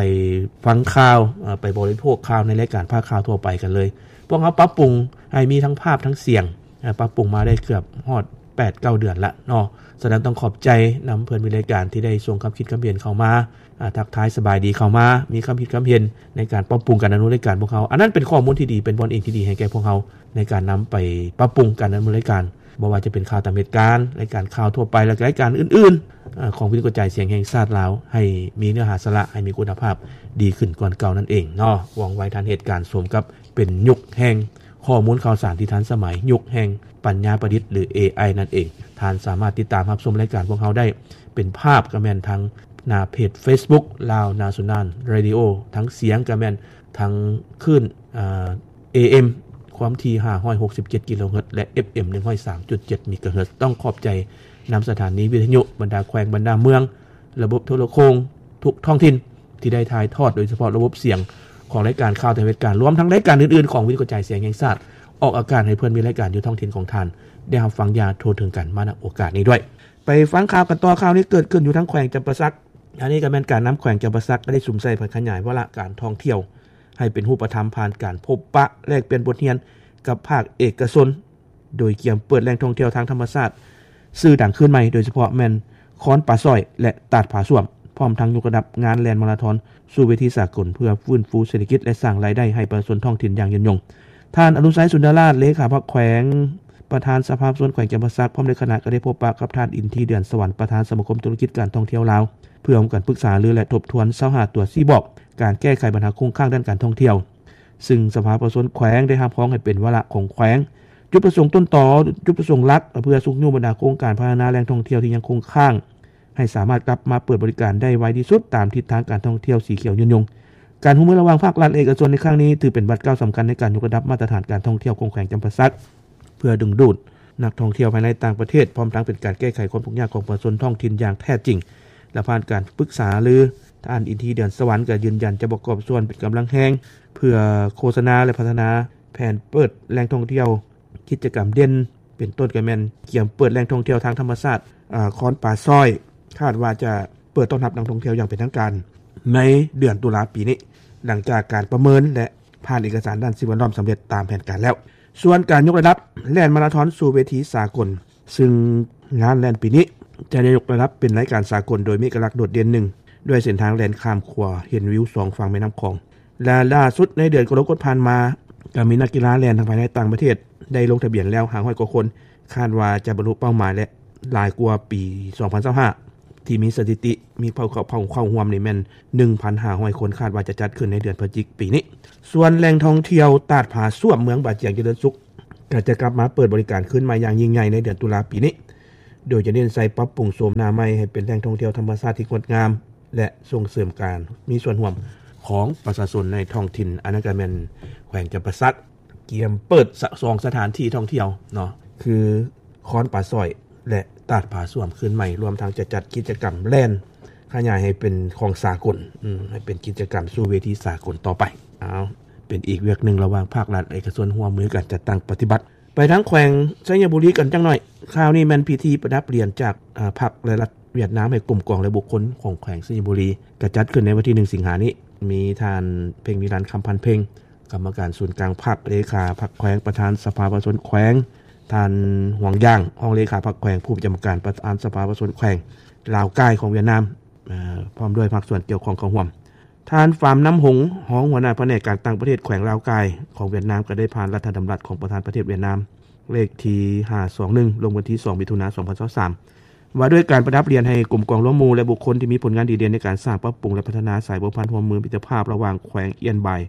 ຟັງຂ່າວ, ເອີ, ໄປບໍລິໂພກຂ່າວໃນລາຍການພາກຂ່າວທົ່ວໄປກັນເລີຍ. ພວກເຮົາປັບປຸງໃຫ້ມີທັງພາບທັງສຽງ, ເອີ, ປັບປຸງມາໄດ້ເກືອບຮອດແປດເກົ້າເດືອນລະເນາະ. ສະນັ້ນຕ້ອງຂອບໃຈນຳເພື່ອນມິດລາຍການທີ່ໄດ້ສົ່ງຄຳຄິດຄຳເຫັນເຂົ້າມາ, ອາ, ທັກທາຍສະບາຍດີເຂົ້າມາ, ມີຄຳຄິດຄຳເຫັນໃນການປັບປຸງການດຳເນີນລາຍການພວກເຮົາ. ອັນນັ້ນເປັນຂໍ້ມູນທີ່ດີ, ເປັນບ່ອນອີງທີ່ດີໃຫ້ແກ່ພວກເຮົາໃນການນຳໄປປັບປຸງການດຳເນີນລາຍການ, ບໍ່ວ່າຈະເປັນຂ່າວຕາມເຫດການ, ລາຍການຂ່າວທົ່ວໄປ ແລະ ລາຍການອື່ນໆ, ອາ, ຂອງວິທະຍຸກະຈາຍສຽງແຫ່ງຊາດລາວ ໃຫ້ມີເນື້ອຫາສາລະ, ໃຫ້ມີຄຸນນະພາບດີຂຶ້ນກວ່າເກົ່ານັ້ນເອງເນາະ. ຫວັງໄວ້ທ່ານເຫດການສົມກັບເປັນຍຸກແຫ່ງ ຂໍ້ມູນຂ່າວສານທີ່ທັນສະໄໝ, ຍຸກແຫ່ງປັນຍາປະດິດ ຫຼື ເອໄອ ນັ້ນເອງ. ທ່ານສາມາດຕິດຕາມຮັບຊົມລາຍການພວກເຮົາໄດ້ເປັນພາບກໍແມ່ນທາງໜ້າເພຈ Facebook Lao National Radio, ທາງສຽງກໍແມ່ນທາງຄື້ນ ເອເອັມ ຄວາມຖີ່ຫ້າຮ້ອຍຫົກສິບເຈັດກິໂລເຮີດ ແລະ ເອັຟເອັມ ໜຶ່ງຮ້ອຍສາມຈຸດເຈັດເມກາເຮີດ. ຕ້ອງຂອບໃຈນຳສະຖານີວິທະຍຸ, ບັນດາແຂວງ, ບັນດາເມືອງ, ລະບົບໂທລະໂຄ່ງທຸກທ້ອງຖິ່ນ ທີ່ໄດ້ຖ່າຍທອດ ໂດຍສະເພາະລະບົບສຽງຂອງລາຍການຂ່າວຕາມເຫດການ, ລວມທັງລາຍການອື່ນໆຂອງວິທະຍຸກະຈາຍສຽງແຫ່ງຊາດ ອອກອາກາດໃຫ້ເພື່ອນມິດລາຍການຢູ່ທ້ອງຖິ່ນຂອງທ່ານ ໄດ້ຮັບຟັງຢ່າງທົ່ວເຖິງກັນມາ ນຳໂອກາດນີ້ດ້ວຍ. ໄປຟັງຂ່າວກັນຕໍ່. ຂ່າວນີ້ເກີດຂຶ້ນຢູ່ທາງແຂວງຈຳປາສັກ. ອັນນີ້ກໍແມ່ນການນຳແຂວງຈຳປາສັກ ໄດ້ສຸມໃສ່ແຜນຂະຫຍາຍວາລະການທ່ອງທ່ຽວ ໃຫ້ເປັນຮູບປະທຳ ຜ່ານການພົບປະແລກປ່ຽນບົດຮຽນກັບພາກເອກະຊົນ ໂດຍກຽມເປີດແຫຼ່ງທ່ອງທ່ຽວທາງທຳມະຊາດຊື່ດັງຄືນໃໝ່, ໂດຍສະເພາະແມ່ນ ຄອນປາຊອຍ ແລະ ຕາດຜາສ້ວມ, ພ້ອມທັງຍົກລະດັບງານແລ່ນມາລາທອນສູ່ເວທີສາກົນ ເພື່ອຟື້ນຟູເສດຖະກິດ ແລະ ສ້າງລາຍໄດ້ໃຫ້ປະຊາຊົນທ້ອງຖິ່ນຢ່າງຍືນຍົງ. ທ່ານ ອະນຸໄຊ ສຸນດາລາດ ເລຂາພັກແຂວງ ປະທານສະພາປະຊາຊົນແຂວງຈຳປາສັກ ພ້ອມດ້ວຍຄະນະ ກໍໄດ້ພົບປະກັບທ່ານ ອິນທີ ເດືອນສະຫວັນ ປະທານສະມາຄົມທຸລະກິດການທ່ອງທ່ຽວລາວ ເພື່ອຮ່ວມກັນປຶກສາຫາລື ແລະ ທົບທວນຊາວຫ້າຕົວຊີ້ບອກ ການແກ້ໄຂບັນຫາຄົງຄ້າງດ້ານການທ່ອງທ່ຽວ, ຊຶ່ງສະພາປະຊາຊົນແຂວງໄດ້ຮັບຮອງໃຫ້ເປັນວາລະຂອງແຂວງ. ຈຸດປະສົງຕົ້ນຕໍ, ຈຸດປະສົງຫຼັກ ເພື່ອຊຸກຍູ້ບັນດາໂຄງການພັດທະນາແຫຼ່ງທ່ອງທ່ຽວທີ່ຍັງຄົງຄ້າງ ໃຫ້ສາມາດກັບມາເປີດບໍລິການໄດ້ໄວທີ່ສຸດ ຕາມທິດທາງການທ່ອງທ່ຽວສີຂຽວຍືນຍົງ. ການຮ່ວມມືລະຫວ່າງພາກລັດ ແລະ ເອກະຊົນໃນຄັ້ງນີ້ ຖືເປັນບາດກ້າວສຳຄັນໃນການຍົກລະດັບມາດຕະຖານການທ່ອງທ່ຽວຂອງແຂວງຈຳປາສັກ ເພື່ອດຶງດູດນັກທ່ອງທ່ຽວພາຍໃນຕ່າງປະເທດ, ພ້ອມທັງເປັນການແກ້ໄຂຄວາມທຸກຍາກຂອງປະຊາຊົນທ້ອງຖິ່ນຢ່າງແທ້ຈິງ ແລະ ຜ່ານການປຶກສາຫາລື, ທ່ານ ອິນທີ ເດືອນສະຫວັນ ກໍຢືນຢັນຈະປະກອບສ່ວນເປັນກຳລັງແຮງ ເພື່ອໂຄສະນາ ແລະ ພັດທະນາແຜນເປີດແຫຼ່ງທ່ອງທ່ຽວ ກິດຈະກຳເດັ່ນ ເປັນຕົ້ນກໍແມ່ນກຽມເປີດແຫຼ່ງທ່ອງທ່ຽວທາງທຳມະຊາດ ອາ ຄອນປາຊອຍ, ຄາດວ່າຈະເປີດຕ້ອນຮັບນັກທ່ອງທ່ຽວຢ່າງເປັນທາງການໃນເດືອນຕຸລາປີນີ້ ຫຼັງຈາກການປະເມີນ ແລະ ຜ່ານເອກະສານດ້ານສິ່ງແວດລ້ອມສຳເລັດຕາມແຜນການແລ້ວ. ສ່ວນການຍົກລະດັບແລ່ນມາລາທອນສູ່ເວທີສາກົນ, ຊຶ່ງງານແລ່ນປີນີ້ຈະໄດ້ຍົກລະດັບເປັນລາຍການສາກົນ ໂດຍມີເອກະລັກໂດດເດັ່ນໜຶ່ງ ດ້ວຍເສັ້ນທາງແລ່ນຂ້າມຂົວເຫັນວິວສອງຝັ່ງແມ່ນ້ຳຂອງ. ແລະ ລ່າສຸດໃນເດືອນກໍລະກົດຜ່ານມາ ກໍມີນັກກິລາແລ່ນທັງພາຍໃນຕ່າງປະເທດໄດ້ລົງທະບຽນແລ້ວຫ້າຮ້ອຍກວ່າຄົນ, ຄາດວ່າຈະບັນລຸເປົ້າໝາຍ ແລະ ຫຼາຍກວ່າປີສອງພັນຊາວຫ້າ ທີ່ມີສະຖິຕິມີເຂົ້າ ເຂົ້າ ເຂົ້າຮ່ວມນີ້ແມ່ນໜຶ່ງພັນຫ້າຮ້ອຍຄົນ, ຄາດວ່າຈະຈັດຂຶ້ນໃນເດືອນພະຈິກປີນີ້. ສ່ວນແຫຼ່ງທ່ອງທ່ຽວຕາດຜາສ້ວມເມືອງບາຈຽງຈະເລີນສຸກ ກໍຈະກັບມາເປີດບໍລິການຄືນໃໝ່ຢ່າງຍິ່ງໃຫຍ່ໃນເດືອນຕຸລາປີນີ້, ໂດຍຈະເນັ້ນໃສ່ປັບປຸງໂສມໜ້າໃໝ່ໃຫ້ເປັນແຫຼ່ງທ່ອງທ່ຽວທຳມະຊາດທີ່ງົດງາມ ແລະ ສົ່ງເສີມການມີສ່ວນຮ່ວມຂອງປະຊາຊົນໃນທ້ອງຖິ່ນ. ອັນນັ້ນກໍແມ່ນແຂວງຈຳປາສັກກຽມເປີດສະ ສອງສະຖານທີ່ທ່ອງທ່ຽວເນາະ ຄືຄອນປາຊອຍ ແລະ ຕາດຜາສ້ວມຄືນໃໝ່, ລວມທັງຈະຈັດກິດຈະກຳແລ່ນຂະຫຍາຍໃຫ້ເປັນຂອງສາກົນ, ອືມ ໃຫ້ເປັນກິດຈະກຳສູ່ເວທີສາກົນຕໍ່ໄປ. ເອົາ ເປັນອີກວຽກໜຶ່ງລະຫວ່າງພາກລັດ ເອກະຊົນຮ່ວມມືກັນຈັດຕັ້ງປະຕິບັດ. ໄປທາງແຂວງໄຊຍະບູລີກັນຈັກໜ້ອຍ. ຂ່າວນີ້ແມ່ນພິທີປະດັບຫຼຽນຈາກ ອາ ພັກ ແລະ ລັດຫວຽດນາມໃຫ້ກົມກອງ ແລະ ບຸກຄົນຂອງແຂວງໄຊຍະບູລີ ກະຈັດຂຶ້ນໃນວັນທີໜຶ່ງສິງຫານີ້. ມີທ່ານ ເພັງວິລັນ ຄຳພັນເພັງ ກຳມະການສູນກາງພັກ, ເລຂາພັກແຂວງ, ປະທານສະພາປະຊາຊົນແຂວງ, ທ່ານ ຫວງຢາງ ຮອງເລຂາພັກແຂວງ, ຜູ້ປະຈຳການປະທານສະພາປະຊາຊົນແຂວງລາວກາຍຂອງຫວຽດນາມ ເອີ ພ້ອມດ້ວຍພາກສ່ວນກ່ຽວຂ້ອງເຂົ້າຮ່ວມ. ທ່ານ ຟາມ ນຳຫົງ ຮອງຫົວໜ້າພະແນກການຕ່າງປະເທດແຂວງລາວກາຍຂອງຫວຽດນາມ ກໍໄດ້ຜ່ານລັດຖະດຳລັດຂອງປະທານປະເທດຫວຽດນາມ ເລກທີຫ້າສອງໜຶ່ງ ລົງວັນທີສອງ ມິຖຸນາ ສອງພັນຊາວສາມ ວ່າດ້ວຍການປະດັບຫຼຽນໃຫ້ກຸ່ມກອງລວມໝູ່ ແລະ ບຸກຄົນທີ່ມີຜົນງານດີເດັ່ນໃນການສ້າງ, ປັບປຸງ ແລະ ພັດທະນາສາຍພົວພັນຮ່ວມມືມິດຕະພາບລະຫວ່າງແຂວງອຽນບາຍ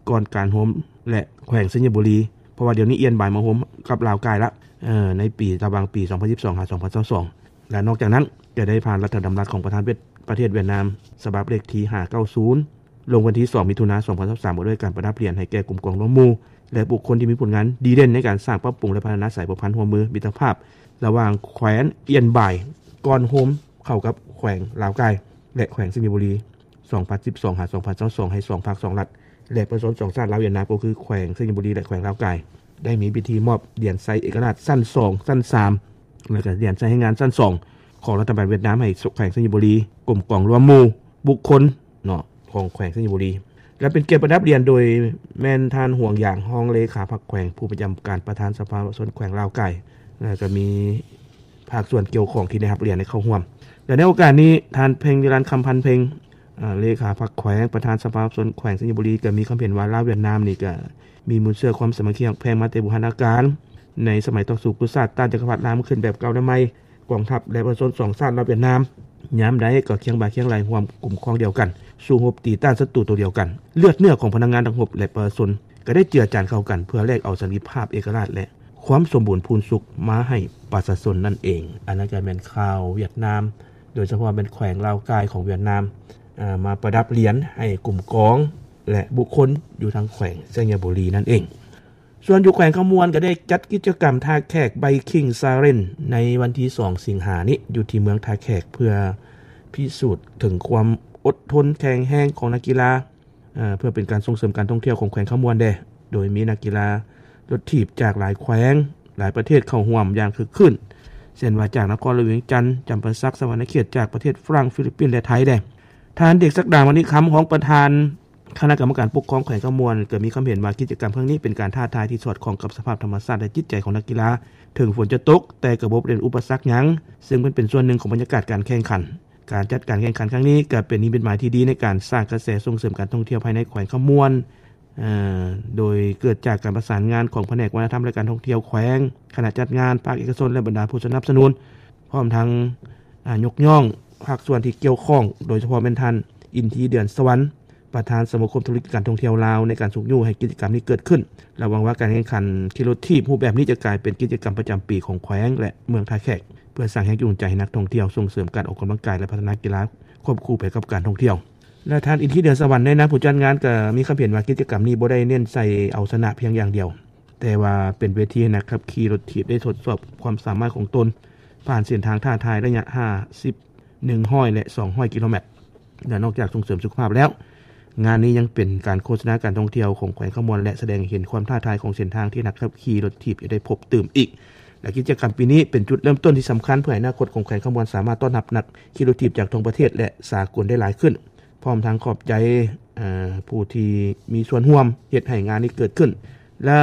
ກ່ອນການໂຮມ ແລະ ແຂວງໄຊຍະບູລີ, ເພາະວ່າດຽວນີ້ອຽນບາຍມາໂຮມກັບລາວກາຍລະ ເອີ ໃນປີ ລະຫວ່າງປີສອງພັນສິບສອງ ຫາ ສອງພັນຊາວສອງ ແລະ ນອກຈາກນັ້ນກໍໄດ້ຜ່ານລັດຖະດຳລັດຂອງປະທານປະເທດຫວຽດນາມ ສະບັບເລກທີຫ້າເກົ້າສູນ ລົງວັນທີສອງ ມິຖຸນາ ສອງພັນຊາວສາມ ວ່າດ້ວຍການປະດັບຫຼຽນໃຫ້ແກ່ກຸ່ມກອງລວມໝູ່ ແລະ ບຸກຄົນທີ່ມີຜົນງານດີເດັ່ນໃນການສ້າງ, ປັບປຸງ ແລະ ພັດທະນາສາຍພົວພັນຮ່ວມມືມິດຕະພາບລະຫວ່າງແຂວງອຽນບາຍ ກ່ອນໂຮມເຂົ້າກັບແຂວງລາວກາຍ ແລະ ແຂວງໄຊຍະບູລີ ສອງພັນສິບສອງ ຫາ ສອງພັນຊາວສອງ ໃຫ້ສອງພັກສອງລັດ ແລະ ປະຊາຊົນສອງຊາດລາວຫວຽດນາມ ກໍຄືແຂວງໄຊຍະບູລີ ແລະ ແຂວງລາວກາຍ ໄດ້ມີພິທີມອບຫຼຽນໄຊເອກະລາດຊັ້ນສອງ ຊັ້ນສາມ ແລະ ກໍຫຼຽນໄຊແຮງງານຊັ້ນສອງ ຂອງລັດຖະບານຫວຽດນາມໃຫ້ແຂວງໄຊຍະບູລີ, ກົມກອງລວມໝູ່ ບຸກຄົນເນາະ ຂອງແຂວງໄຊຍະບູລີ ແລະ ເປັນກຽດປະດັບຫຼຽນໂດຍແມ່ນທ່ານ ຫວງຢາງ ຮອງເລຂາພັກແຂວງ ຜູ້ປະຈຳການປະທານສະພາປະຊາຊົນແຂວງລາວກາຍ ແລະ ກໍມີພາກສ່ວນກ່ຽວຂ້ອງທີ່ໄດ້ຮັບຫຼຽນໄດ້ເຂົ້າຮ່ວມ. ແລະ ໃນໂອກາດນີ້ ທ່ານ ເພັງວິລັນ ຄຳພັນເພັງ ເອີ ເລຂາພັກແຂວງ ປະທານສະພາປະຊາຊົນແຂວງໄຊຍະບູລີ ກໍມີຄວາມເຫັນວ່າ ລາວຫວຽດນາມນີ້ກໍມີມູນເຊື້ອຄວາມສາມັກຄີຮັກແພງມາແຕ່ບູຮານນະການ. ໃນສະໄໝຕໍ່ສູ້ກັບຊາດ ຕ້ານຈັກກະພັດລາວມາຂຶ້ນແບບເກົ່ານຳໃໝ່, ກອງທັບ ແລະ ປະຊາຊົນສອງຊາດລາວຫວຽດນາມ ຍາມໃດກໍຄຽງບ່າຄຽງໄຫຼ່ຮ່ວມກຸ່ມຂອງດຽວກັນ, ສູ້ຮົບຕີຕ້ານສັດຕູໂຕດຽວກັນ. ເລືອດເນື້ອຂອງພະນັກງານທັງຮົບ ແລະ ປະຊາຊົນ ກໍໄດ້ເຈືອຈານເຂົ້າກັນ ເພື່ອແລກເອົາສັນຕິພາບ, ເອກະລາດ ແລະ ຄວາມສົມບູນພູນສຸກມາໃຫ້ປະຊາຊົນນັ້ນເອງ. ອັນນັ້ນກໍແມ່ນຂ່າວຫວຽດນາມ, ໂດຍສະເພາະແມ່ນແຂວງລາວກາຍຂອງຫວຽດນາມ ເອີ ມາປະດັບຫຼຽນໃຫ້ກຸ່ມກອງ ແລະ ບຸກຄົນຢູ່ທາງແຂວງໄຊຍະບູລີນັ້ນເອງ. ສ່ວນຢູ່ແຂວງຄຳມ່ວນກໍໄດ້ຈັດກິດຈະກຳທ່າແຂກ Biking Challenge ໃນວັນທີສອງ ສິງຫານີ້ ຢູ່ທີ່ເມືອງທ່າແຂກ ເພື່ອພິສູດເຖິງຄວາມອົດທົນແຂງແຮງຂອງນັກກິລາ ເອີ ເພື່ອເປັນການສົ່ງເສີມການທ່ອງທ່ຽວຂອງແຂວງຄຳມ່ວນແດ່ ໂດຍມີນັກກິລາລົດຖີບຈາກຫຼາຍແຂວງ, ຫຼາຍປະເທດເຂົ້າຮ່ວມຢ່າງຄຶກຄື້ນ ເຊັ່ນວ່າຈາກນະຄອນຫຼວງວຽງຈັນ, ຈຳປາສັກ, ສະຫວັນນະເຂດ, ຈາກປະເທດຝຣັ່ງ, ຟີລິບປິນ ແລະ ໄທແດ່. ທ່ານ ເດັກສັກດາ ມະນິຄຳ ຮອງປະທານຄະນະກຳມະການປົກຄອງແຂວງຄຳມ່ວນ ກໍມີຄຳເຫັນວ່າ ກິດຈະກຳຄັ້ງນີ້ເປັນການທ້າທາຍທີ່ສອດຄ່ອງກັບສະພາບທຳມະຊາດ ແລະ ຈິດໃຈຂອງນັກກິລາ ເຖິງຝົນຈະຕົກ ແຕ່ກໍບໍ່ເປັນອຸປະສັກຫຍັງ ຊຶ່ງມັນເປັນສ່ວນໜຶ່ງຂອງບັນຍາກາດການແຂ່ງຂັນ. ການຈັດການແຂ່ງຂັນຄັ້ງນີ້ກໍເປັນນິມິດໝາຍທີ່ດີໃນການສ້າງກະແສສົ່ງເສີມການທ່ອງທ່ຽວພາຍໃນແຂວງຄຳມ່ວນ ເອີ ໂດຍເກີດຈາກການປະສານງານຂອງພະແນກວັດທະນະທຳ ແລະ ການທ່ອງທ່ຽວແຂວງ, ຄະນະຈັດງານ, ພາກເອກະຊົນ ແລະ ບັນດາຜູ້ສະໜັບສະໜູນ, ພ້ອມທັງ ອາ ຍົກຍ້ອງພາກສ່ວນທີ່ກ່ຽວຂ້ອງ, ໂດຍສະເພາະແມ່ນທ່ານ ອິນທີ ເດືອນສະຫວັນ ປະທານສະມາຄົມທຸລະກິດການທ່ອງທ່ຽວລາວ ໃນການຊຸກຍູ້ໃຫ້ກິດຈະກຳນີ້ເກີດຂຶ້ນ ແລະ ຫວັງວ່າການແຂ່ງຂັນຂີ່ລົດຖີບຮູບແບບນີ້ຈະກາຍເປັນກິດຈະກຳປະຈຳປີຂອງແຂວງ ແລະ ເມືອງທ່າແຂກ ເພື່ອສ້າງແຮງຈູງໃຈໃຫ້ນັກທ່ອງທ່ຽວ, ສົ່ງເສີມການອອກກຳລັງກາຍ ແລະ ພັດທະນາກິລາຄວບຄູ່ໄປກັບການທ່ອງທ່ຽວ. ແລະ ທ່ານ ອິນທີ ເດືອນສະຫວັນ ໃນນາມຜູ້ຈັດງານ ກໍມີຄຳເຫັນວ່າ ກິດຈະກຳນີ້ບໍ່ໄດ້ເນັ້ນໃສ່ເອົາຊະນະພຽງຢ່າງດຽວ, ແຕ່ວ່າເປັນເວທີໃຫ້ນັກຂັບຂີ່ລົດຖີບໄດ້ທົດສອບຄວາມສາມາດຂອງຕົນ ຜ່ານເສັ້ນທາງທ້າທາຍໄລຍະຫ້າສິບ ໜຶ່ງຮ້ອຍ ແລະ ສອງຮ້ອຍກິໂລແມັດ. ແລະ ນອກຈາກສົ່ງເສີມສຸຂະພາບແລ້ວ, ງານນີ້ຍັງເປັນການໂຄສະນາການທ່ອງທ່ຽວຂອງແຂວງຄຳມ່ວນ ແລະ ສະແດງໃຫ້ເຫັນຄວາມທ້າທາຍຂອງເສັ້ນທາງທີ່ນັກຂັບຂີ່ລົດຖີບຈະໄດ້ພົບຕື່ມອີກ. ແລະ ກິດຈະກຳປີນີ້ເປັນຈຸດເລີ່ມຕົ້ນທີ່ສຳຄັນ ເພື່ອໃຫ້ອະນາຄົດຂອງແຂວງຄຳມ່ວນສາມາດຕ້ອນຮັບນັກຂີ່ລົດຖີບຈາກທົ່ວປະເທດ ແລະ ສາກົນໄດ້ຫຼາຍຂຶ້ນ. ພ້ອມທັງຂອບໃຈ ເອີ ຜູ້ທີ່ມີສ່ວນຮ່ວມເຮັດໃຫ້ງານນີ້ເກີດຂຶ້ນ. ແລະ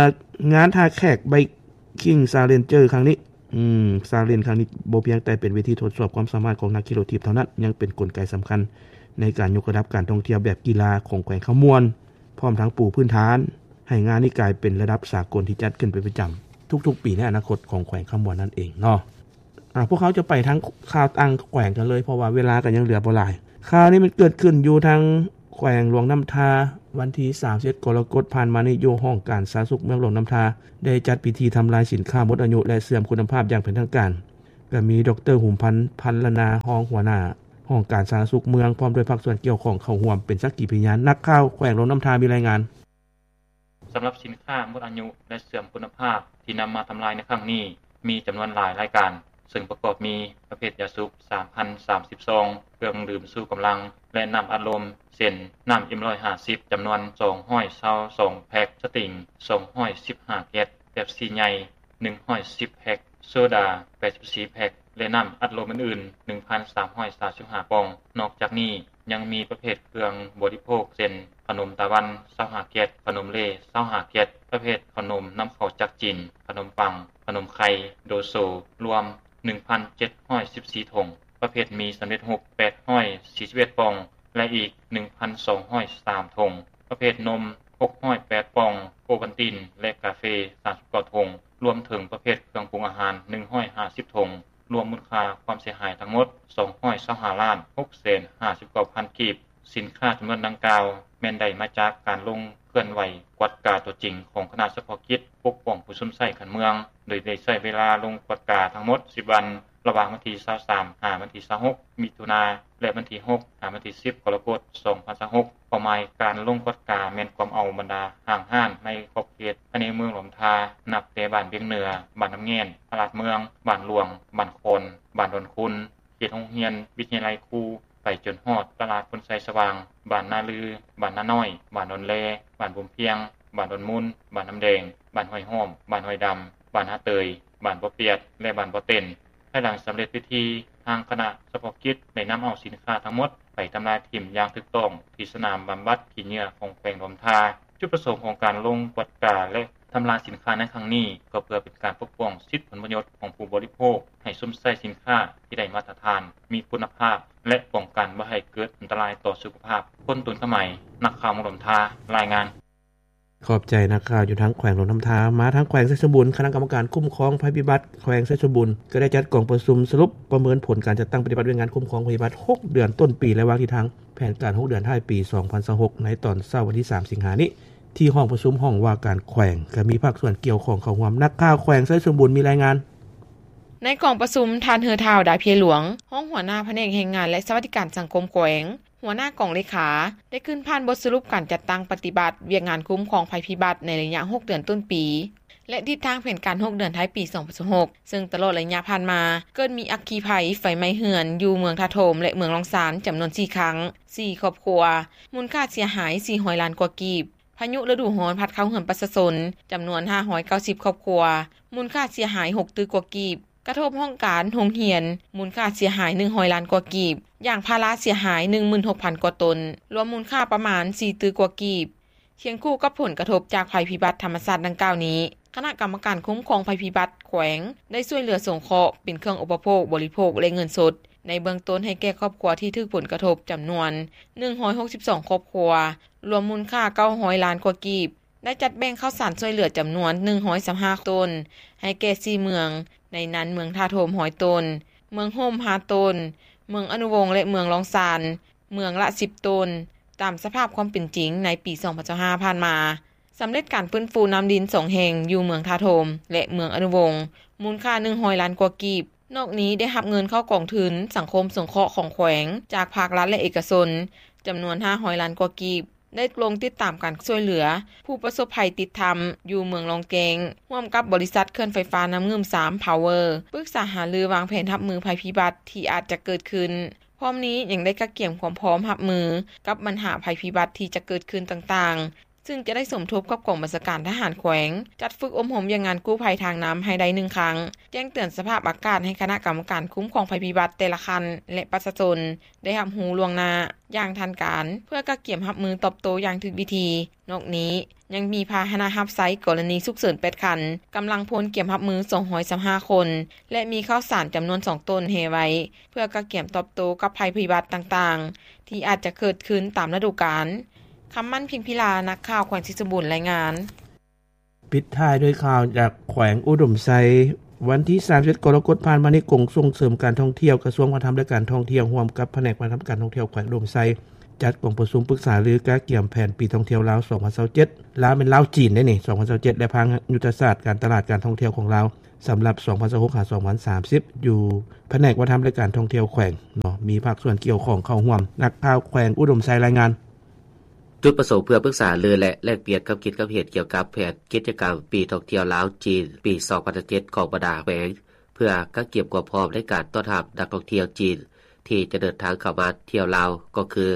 ງານທ່າແຂກ Biking Challenger ຄັ້ງນີ້ ອືມ Challenge ຄັ້ງນີ້ບໍ່ພຽງແຕ່ເປັນເວທີທົດສອບຄວາມສາມາດຂອງນັກຂີ່ລົດຖີບເທົ່ານັ້ນ, ຍັງເປັນກົນໄກສຳຄັນໃນການຍົກລະດັບການທ່ອງທ່ຽວແບບກິລາຂອງແຂວງຄຳມ່ວນ, ພ້ອມທັງປູພື້ນຖານໃຫ້ງານນີ້ກາຍເປັນລະດັບສາກົນທີ່ຈັດຂຶ້ນເປັນປະຈຳທຸກໆປີໃນອະນາຄົດຂອງແຂວງຄຳມ່ວນນັ້ນເອງເນາະ. ອາ ພວກເຮົາຈະໄປທາງຂ່າວຕ່າງແຂວງກັນເລີຍ ເພາະວ່າເວລາກໍຍັງເຫຼືອບໍ່ຫຼາຍ. ຂ່າວນີ້ມັນເກີດຂຶ້ນຢູ່ທາງແຂວງຫຼວງນ້ຳທາ. ວັນທີສາມສິບເອັດ ກໍລະກົດຜ່ານມານີ້ ຢູ່ຫ້ອງການສາທາລະນະສຸກເມືອງຫຼວງນ້ຳທາ ໄດ້ຈັດພິທີທຳລາຍສິນຄ້າໝົດອາຍຸ ແລະ ເສື່ອມຄຸນນະພາບຢ່າງເປັນທາງການ. ກໍມີ ດຣ. ຫຸມພັນ ພັນລະນາ ຮອງຫົວໜ້າຫ້ອງການສາທາລະນະສຸກເມືອງ ພ້ອມດ້ວຍພາກສ່ວນກ່ຽວຂ້ອງເຂົ້າຮ່ວມເປັນສັກຂີພະຍານ. ນັກຂ່າວແຂວງຫຼວງນ້ຳທາມີລາຍງານ. ສຳລັບສິນຄ້າໝົດອາຍຸ ແລະ ເສື່ອມຄຸນນະພາບທີ່ນຳມາທຳລາຍໃນຄັ້ງນີ້ ມີຈຳນວນຫຼາຍລາຍການ, ເຊິ່ງປະກອບມີ ປະເພດຢາສູບ ສາມພັນສາມສິບຊອງ, ເຄື່ອງດື່ມຊູກຳລັງ ແລະ ນ້ຳອັດລົມ ເຊັ່ນ ນ້ຳ ເອັມ ຮ້ອຍຫ້າສິບ ຈຳນວນ ສອງຮ້ອຍຊາວສອງແພັກ, ສະຕິງ ສອງຮ້ອຍສິບຫ້າແກັດ, ເປັບຊີໃຫຍ່ ໜຶ່ງຮ້ອຍສິບແພັກ, ໂຊດາ ແປດສິບສີ່ແພັກ ແລະ ນ້ຳອັດລົມອື່ນໆ ໜຶ່ງພັນສາມຮ້ອຍສາມສິບຫ້າປ່ອງ. ນອກຈາກນີ້ ຍັງມີປະເພດເຄື່ອງບໍລິໂພກ ເຊັ່ນ ຂະໜົມຕາວັນ ຊາວຫ້າແກັດ, ຂະໜົມເລ ຊາວຫ້າແກັດ, ປະເພດຂະໜົມນຳເຂົ້າຈາກຈີນ, ຂະໜົມປັງ, ຂະໜົມໄຂ່, ໂດໂຊ ລວມ ໜຶ່ງພັນເຈັດຮ້ອຍສິບສີ່ຖົງ, ປະເພດໝີ່ສຳເລັດຮູບ ແປດຮ້ອຍສີ່ສິບເອັດປ່ອງ ແລະ ອີກ ໜຶ່ງພັນສອງຮ້ອຍສາມຖົງ, ປະເພດນົມ ຫົກຮ້ອຍແປດປ່ອງ, ໂອວັນຕິນ ແລະ ກາເຟ ສາມສິບເກົ້າຖົງ, ລວມເຖິງປະເພດເຄື່ອງປຸງອາຫານ ໜຶ່ງຮ້ອຍຫ້າສິບຖົງ, ລວມມູນຄ່າຄວາມເສຍຫາຍທັງໝົດ ສອງຮ້ອຍຊາວຫ້າລ້ານ ຫົກແສນຫ້າສິບເກົ້າພັນກີບ. ສິນຄ້າຈຳນວນດັ່ງກ່າວ ແມ່ນໄດ້ມາຈາກການລົງເຄື່ອນໄຫວກວດກາຕົວຈິງຂອງຄະນະສະເພາະກິດປົກປ້ອງຜູ້ຊົມໃຊ້ຂັ້ນເມືອງ, ໂດຍໄດ້ໃຊ້ເວລາລົງກວດກາທັງໝົດສິບວັນ, ລະຫວ່າງວັນທີຊາວສາມ ຫາວັນທີຊາວຫົກ ມິຖຸນາ ແລະ ວັນທີຫົກ ຫາວັນທີສິບ ກໍລະກົດ ສອງພັນຊາວຫົກ. ເປົ້າໝາຍການລົງກວດກາແມ່ນກວມເອົາບັນດາຫ້າງຮ້ານໃນຂອບເຂດພາຍໃນເມືອງຫຼວງນ້ຳທາ, ນັບແຕ່ບ້ານວຽງເໜືອ, ບ້ານນ້ຳແງນ, ຕະຫຼາດເມືອງ, ບ້ານຫຼວງ, ບ້ານຄອນ, ບ້ານດອນຄູນ, ເຂດໂຮງຮຽນ, ວິທະຍາໄລຄູ, ໄປຈົນຮອດຕະຫຼາດພົນໄຊສະຫວ່າງ, ບ້ານນາລື, ບ້ານນານ້ອຍ, ບ້ານດອນແລ, ບ້ານບຸມພຽງ, ບ້ານດອນມູນ, ບ້ານນ້ຳແດງ, ບ້ານຫ້ວຍຫ້ອມ, ບ້ານຫ້ວຍດຳ, ບ້ານນາເຕີຍ, ບ້ານບໍ່ປຽດ ແລະ ບ້ານບໍ່ເຕັນ. ພາຍຫຼັງສຳເລັດພິທີ, ທາງຄະນະສະເພາະກິດໄດ້ນຳເອົາສິນຄ້າທັງໝົດໄປທຳລາຍຖິ້ມຢ່າງຖືກຕ້ອງທີ່ສະໜາມບຳບັດຂີ້ເຫຍື້ອຂອງແຂວງຫຼວງນ້ຳທາ. ຈຸດປະສົງຂອງການລົງກວດກາ ແລະ ທຳລາຍສິນຄ້າໃນຄັ້ງນີ້ ກໍເພື່ອເປັນການປົກປ້ອງສິດຜົນປະໂຫຍດຂອງຜູ້ບໍລິໂພກ ໃຫ້ຊົມໃຊ້ສິນຄ້າທີ່ໄດ້ມາດຕະຖານ, ມີຄຸນນະພາບ ແລະ ປ້ອງກັນບໍ່ໃຫ້ເກີດອັນຕະລາຍຕໍ່ສຸຂະພາບ. ພົນຕຸນຄຳໄໝ, ນັກຂ່າວເມືອງຫຼວງນ້ຳທາ ລາຍງານ. ຂອບໃຈນັກຂ່າວຢູ່ທາງແຂວງຫຼວງນ້ຳທາ. ມາທາງແຂວງໄຊສົມບູນ, ຄະນະກຳມະການຄຸ້ມຄອງໄພໄພພິບັດແຂວງໄຊສົມບູນ ກໍໄດ້ຈັດກອງປະຊຸມສະຫຼຸບປະເມີນຜົນການຈັດຕັ້ງປະຕິບັດວຽກງານຄຸ້ມຄອງໄພພິບັດຫົກເດືອນຕົ້ນປີ ແລະ ວາງທິດທາງແຜນການຫົກເດືອນທ້າຍປີສອງພັນຊາວຫົກ ໃນຕອນເຊົ້າວັນທີສາມສິງຫານີ້ ທີ່ຫ້ອງປະຊຸມຫ້ອງວ່າການແຂວງ, ກໍມີພາກສ່ວນກ່ຽວຂ້ອງເຂົ້າຮ່ວມ. ນັກຂ່າວແຂວງໄຊສົມບູນມີລາຍງານ. ໃນກອງປະຊຸມ, ທ່ານ ເຮີທ້າວ ດາເພຍຫຼວງ, ຮອງຫົວໜ້າພະແນກແຮງງານ ແລະ ສະຫວັດດີການສັງຄົມແຂວງ, ຫົວໜ້າກອງເລຂາ ໄດ້ຂຶ້ນຜ່ານບົດສະຫຼຸບການຈັດຕັ້ງປະຕິບັດວຽກງານຄຸ້ມຄອງໄພພິບັດໃນໄລຍະຫົກເດືອນຕົ້ນປີ ແລະ ທິດທາງແຜນການຫົກເດືອນທ້າຍປີສອງພັນຊາວຫົກ, ເຊິ່ງຕະຫຼອດໄລຍະຜ່ານມາ ເກີດມີອັກຄີໄພໄຟໄໝ້ເຮືອນຢູ່ເມືອງທ່າໂທມ ແລະ ເມືອງລ້ອງຊານ ຈຳນວນສີ່ຄັ້ງ, ສີ່ຄອບຄົວ, ມູນຄ່າເສຍຫາຍສີ່ຮ້ອຍລ້ານກວ່າກີບ. ພາຍຸລະດູຮ້ອນພັດເຂົ້າເຮືອນປະຊາຊົນ ຈຳນວນຫ້າຮ້ອຍເກົ້າສິບຄອບຄົວ, ມູນຄ່າເສຍຫາຍຫົກຕື້ກວ່າກີບ. ກະທົບຫ້ອງການ, ໂຮງຮຽນ, ມູນຄ່າເສຍຫາຍໜຶ່ງຮ້ອຍລ້ານກວ່າກີບ. ຢາງພາລາເສຍຫາຍໜຶ່ງໝື່ນຫົກພັນກວ່າຕົນ, ລວມມູນຄ່າປະມານສີ່ຕື້ກວ່າກີບ. ຄຽງຄູ່ກັບຜົນກະທົບຈາກໄພພິບັດທຳມະຊາດດັ່ງກ່າວນີ້, ຄະນະກຳມະການຄຸ້ມຄອງໄພພິບັດແຂວງ ໄດ້ຊ່ວຍເຫຼືອສົງເຄາະເປັນເຄື່ອງອຸປະໂພກ, ບໍລິໂພກ ແລະ ເງິນສົດ ໃນເບື້ອງຕົ້ນໃຫ້ແກ່ຄອບຄົວທີ່ຖືກຜົນກະທົບຈຳນວນ ໜຶ່ງຮ້ອຍຫົກສິບສອງ ຄອບຄົວ, ລວມມູນຄ່າເກົ້າຮ້ອຍລ້ານກວ່າກີບ, ໄດ້ຈັດແບ່ງເຂົ້າສານຊ່ວຍເຫຼືອຈຳນວນ ໜຶ່ງຮ້ອຍຊາວຫ້າ ໂຕນ ໃຫ້ແກ່ ສີ່ ເມືອງ, ໃນນັ້ນເມືອງທ່າໂທມ ຮ້ອຍ ໂຕນ, ເມືອງໂຮມ ຫ້າ ໂຕນ, ເມືອງອະນຸວົງ ແລະ ເມືອງລ້ອງຊານ ເມືອງລະ ສິບ ໂຕນ, ຕາມສະພາບຄວາມເປັນຈິງໃນປີ ສອງພັນຊາວຫ້າ ຜ່ານມາ. ສຳເລັດການຟື້ນຟູນ້ຳດິນສອງແຫ່ງຢູ່ເມືອງທ່າໂທມ ແລະ ເມືອງອະນຸວົງ ມູນຄ່າ ໜຶ່ງຮ້ອຍລ້ານກວ່າກີບ. ນອກນີ້ໄດ້ຮັບເງິນເຂົ້າກອງທຶນສັງຄົມສົງເຄາະຂອງແຂວງ ຈາກພາກລັດ ແລະ ເອກະຊົນ ຈຳນວນ ຫ້າຮ້ອຍລ້ານກວ່າກີບ, ໄດ້ລົງຕິດຕາມການຊ່ວຍເຫຼືອຜູ້ປະສົບໄພຕິດຖ້ຳຢູ່ເມືອງລ້ອງແກ້ງ ຮ່ວມກັບບໍລິສັດເຂື່ອນໄຟຟ້ານ້ຳງື່ມ ສາມ Power ປຶກສາຫາລືວາງແຜນຮັບມືໄພພິບັດທີ່ອາດຈະເກີດຂຶ້ນ. ພ້ອມນີ້ຍັງໄດ້ກະກຽມຄວາມພ້ອມຮັບມືກັບບັນຫາໄພພິບັດທີ່ຈະເກີດຂຶ້ນຕ່າງໆ, ຊຶ່ງຈະໄດ້ສົມທົບກັບກອງບັນຊາການທະຫານແຂວງ ຈັດຝຶກອົບຮົມວຽກງານກູ້ໄພທາງນ້ຳໃຫ້ໄດ້ໜຶ່ງຄັ້ງ, ແຈ້ງເຕືອນສະພາບອາກາດໃຫ້ຄະນະກຳມະການຄຸ້ມຄອງໄພພິບັດແຕ່ລະຂັ້ນ ແລະ ປະຊາຊົນໄດ້ຮັບຮູ້ລ່ວງໜ້າຢ່າງທັນການ ເພື່ອກະກຽມຮັບມືຕອບໂຕ້ຢ່າງຖືກວິທີ. ນອກນີ້ຍັງມີພາຫະນະຮັບໃຊ້ກໍລະນີສຸກເສີນ ແປດ ຄັນ, ກຳລັງພົນກຽມຮັບມື ສອງຮ້ອຍຊາວຫ້າ ຄົນ ແລະ ມີເຂົ້າສານຈຳນວນ ສອງ ໂຕນແຮ່ໄວ້ ເພື່ອກະກຽມຕອບໂຕ້ກັບໄພພິບັດຕ່າງໆ ທີ່ອາດຈະເກີດຂຶ້ນຕາມລະດູການ. ຄຳໝັ້ນ ພິມພິລາ, ນັກຂ່າວແຂວງໄຊສົມບູນ ລາຍງານ. ປິດທ້າຍດ້ວຍຂ່າວຈາກແຂວງອຸດົມໄຊ. ວັນທີ ສາມສິບເອັດ ກໍລະກົດ ຜ່ານມານີ້, ກົມສົ່ງເສີມການທ່ອງທ່ຽວ ກະຊວງວັດທະນະທຳ ແລະ ການທ່ອງທ່ຽວ ຮ່ວມກັບພະແນກວັດທະນະທຳ ການທ່ອງທ່ຽວແຂວງອຸດົມໄຊ ຈັດກອງປະຊຸມປຶກສາລືກະກຽມແຜນປີທ່ອງທ່ຽວລາວ ສອງພັນຊາວເຈັດ ລາວແມ່ນລາວ-ຈີນເດ້ນີ້ ສອງພັນຊາວເຈັດ ແລະ ພັງຍຸດທະສາດການຕະຫຼາດການທ່ອງທ່ຽວຂອງລາວ ສຳລັບ ສອງພັນຊາວຫົກ ຫາ ສອງພັນສາມສິບ ຢູ່ພະແນກວັດທະນະທຳ ແລະ ການທ່ອງທ່ຽວແຂວງເນາະ ມີພາກສ່ວນກ່ຽວຂ້ອງເຂົ້າຮ່ວມ. ນັກຂ່າວແຂວງອຸດົມໄຊລາຍງານ. ຈຸດປະສົງເພື່ອປຶກສາລື ແລະ ແລກປ່ຽນຄຳຄິດຄຳເຫັນກ່ຽວກັບແຜນກິດຈະກຳປີທ່ອງທ່ຽວລາວ-ຈີນ ປີ ສອງພັນຊາວເຈັດ ຂອງບັນດາແຂວງ ເພື່ອກະກຽມຄວາມພ້ອມໃນການຕ້ອນຮັບນັກທ່ອງທ່ຽວຈີນ ທີ່ຈະເດີນທາງເຂົ້າມາທ່ຽວລາວ ກໍຄື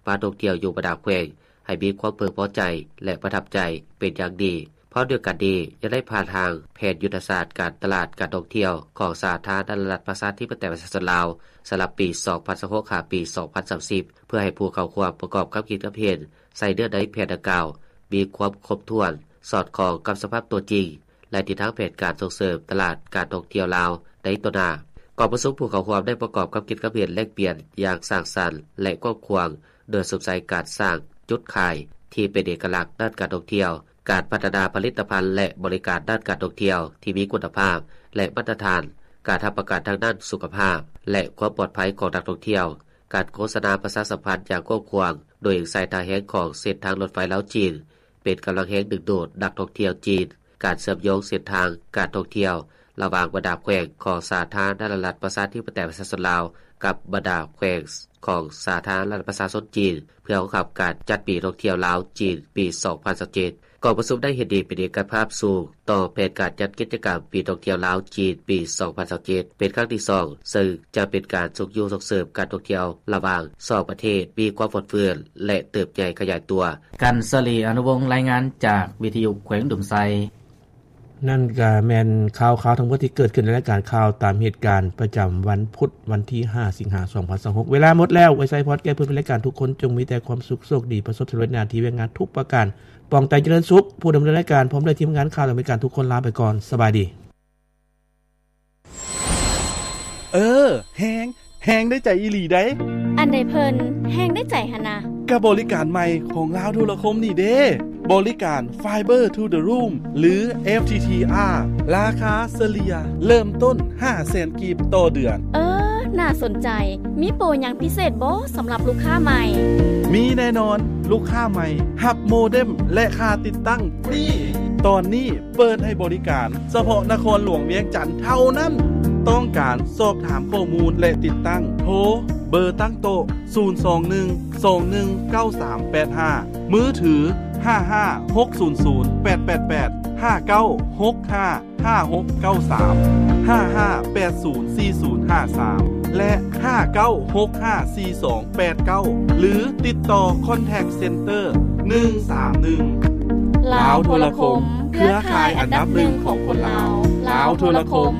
ມາທ່ອງທ່ຽວຢູ່ບັນດາແຂວງ ໃຫ້ມີຄວາມເພິ່ງພໍໃຈ ແລະ ປະທັບໃຈເປັນຢ່າງດີ. ພ້ອມດຽວກັນນີ້ ຍັງໄດ້ຜ່ານຮ່າງແຜນຍຸດທະສາດການຕະຫຼາດການທ່ອງທ່ຽວຂອງສາທາລະນະລັດ ປະຊາທິປະໄຕ ປະຊາຊົນລາວ ສຳລັບປີ ສອງພັນຊາວຫົກ ຫາ ປີ ສອງພັນສາມສິບ ເພື່ອໃຫ້ຜູ້ເຂົ້າຮ່ວມປະກອບຄຳຄິດຄຳເຫັນໃສ່ເນື້ອໃນແຜນດັ່ງກ່າວ ມີຄວາມຄົບຖ້ວນ, ສອດຄ່ອງກັບສະພາບຕົວຈິງ ແລະ ທິດທາງແຜນການສົ່ງເສີມຕະຫຼາດການທ່ອງທ່ຽວລາວໃນຕໍ່ໜ້າ. ກອງປະຊຸມຜູ້ເຂົ້າຮ່ວມໄດ້ປະກອບຄຳຄິດຄຳເຫັນແລກປ່ຽນຢ່າງສ້າງສັນ ແລະ ກວ້າງຂວາງ ໂດຍສຸມໃສ່ການສ້າງຈຸດຂາຍທີ່ເປັນເອກະລັກດ້ານການທ່ອງທ່ຽວ, ການພັດທະນາຜະລິດຕະພັນ ແລະ ບໍລິການດ້ານການທ່ອງທ່ຽວທີ່ມີຄຸນນະພາບ ແລະ ມາດຕະຖານ, ການຮັບປະກັນທາງດ້ານສຸຂະພາບ ແລະ ຄວາມປອດໄພຂອງນັກທ່ອງທ່ຽວ, ການໂຄສະນາປະຊາສຳພັນຢ່າງກວ້າງຂວາງ ໂດຍໃຊ້ທ່າແຮງຂອງເສັ້ນທາງລົດໄຟລາວ-ຈີນ ເປັນກຳລັງແຮງດຶງດູດນັກທ່ອງທ່ຽວຈີນ, ການເຊື່ອມໂຍງເສັ້ນທາງການທ່ອງທ່ຽວລະຫວ່າງບັນດາແຂວງຂອງສາທາລະນະລັດ ປະຊາທິປະໄຕ ປະຊາຊົນລາວ ກັບບັນດາແຂວງຂອງສາທາລະນະລັດ ປະຊາຊົນຈີນ ເພື່ອຮອງຮັບການຈັດປີທ່ອງທ່ຽວລາວ-ຈີນ ປີ ສອງພັນຊາວເຈັດ. ກອງປະຊຸມໄດ້ເຫັນດີເປັນເອກະພາບສູງຕໍ່ແຜນການຈັດກິດຈະກຳປີທ່ອງທ່ຽວລາວ-ຈີນ ປີ ສອງພັນຊາວເຈັດ ເປັນຄັ້ງທີສອງ ເຊິ່ງຈະເປັນການຊຸກຍູ້ສົ່ງເສີມການທ່ອງທ່ຽວລະຫວ່າງສອງປະເທດມີຄວາມຟົດຟື້ນ ແລະ ເຕີບໃຫຍ່ຂະຫຍາຍຕົວ. ກັນສະລີ ອະນຸວົງ ລາຍງານຈາກວິທະຍຸແຂວງອຸດົມໄຊ. ນັ້ນກະແມ່ນຂ່າວໆທັງໝົດທີ່ເກີດຂຶ້ນໃນລາຍການຂ່າວຕາມເຫດການປະຈຳວັນພຸດ ວັນທີຫ້າ ສິງຫາ ສອງພັນຊາວຫົກ. ເວລາໝົດແລ້ວ, ໄວ້ໃສ່ພອດແກ່ເພື່ອນແລະການທຸກຄົນ ຈົ່ງມີແຕ່ຄວາມສຸກ, ໂຊກດີ, ປະສົບສຳເລັດໜ້າທີ່ວຽກງານທຸກປະການ, ປອງໃຈຈະເລີນສຸກ. ຜູ້ດຳເນີນລາຍການ ພ້ອມດ້ວຍທີມງານຂ່າວລາວອາເມລິກັນທຸກຄົນ ລາໄປກ່ອນ. ສະບາຍດີ. ເອີ, ແຮງ, ແຮງໄດ້ໃຈອີ່ຫຼີໃດ໋. ອັນໃດເພິ່ນແຮງໄດ້ໃຈຫັ້ນນະ? ກະບໍລິການໃໝ່ຂອງລາວໂທລະຄົມນີ້ເດ້, ບໍລິການ Fiber to the Room ຫຼື FTTR ລາຄາສະເລ່ຍເລີ່ມຕົ້ນຫ້າແສນກີບຕໍ່ເດືອນ. ເອີ, ໜ້າສົນໃຈ. ມີໂປຣຫຍັງພິເສດບໍ່ສຳລັບລູກຄ້າໃໝ່? ມີແນ່ນອນ, ລູກຄ້າໃໝ່ຮັບໂມເດັມ ແລະ ຄ່າຕິດຕັ້ງຟຣີ. ຕອນນີ້ ເປີດໃຫ້ບໍລິການສະເພາະນະຄອນຫຼວງວຽງຈັນເທົ່ານັ້ນ. ຕ້ອງການສອບຖາມຂໍ້ມູນ ແລະ ຕິດຕັ້ງ ໂທເບີຕັ້ງໂຕະ ສູນສອງໜຶ່ງ ສອງໜຶ່ງ ເກົ້າສາມແປດຫ້າ, ມືຖື ຫ້າຫ້າ ຫົກສູນສູນ ແປດແປດແປດ ຫ້າເກົ້າຫົກຫ້າ ຫ້າຫົກເກົ້າສາມ, ຫ້າຫ້າແປດສູນສີ່ສູນຫ້າສາມ ແລະ ຫ້າເກົ້າຫົກຫ້າສີ່ສອງ ແປດເກົ້າ ຫຼື ຕິດຕໍ່ Contact Center ໜຶ່ງສາມໜຶ່ງ. ລາວໂທລະຄົມ, ເຄືອຂ່າຍອັນດັບໜຶ່ງຂອງຄົນລາວ. ລາວໂທລະຄົມ,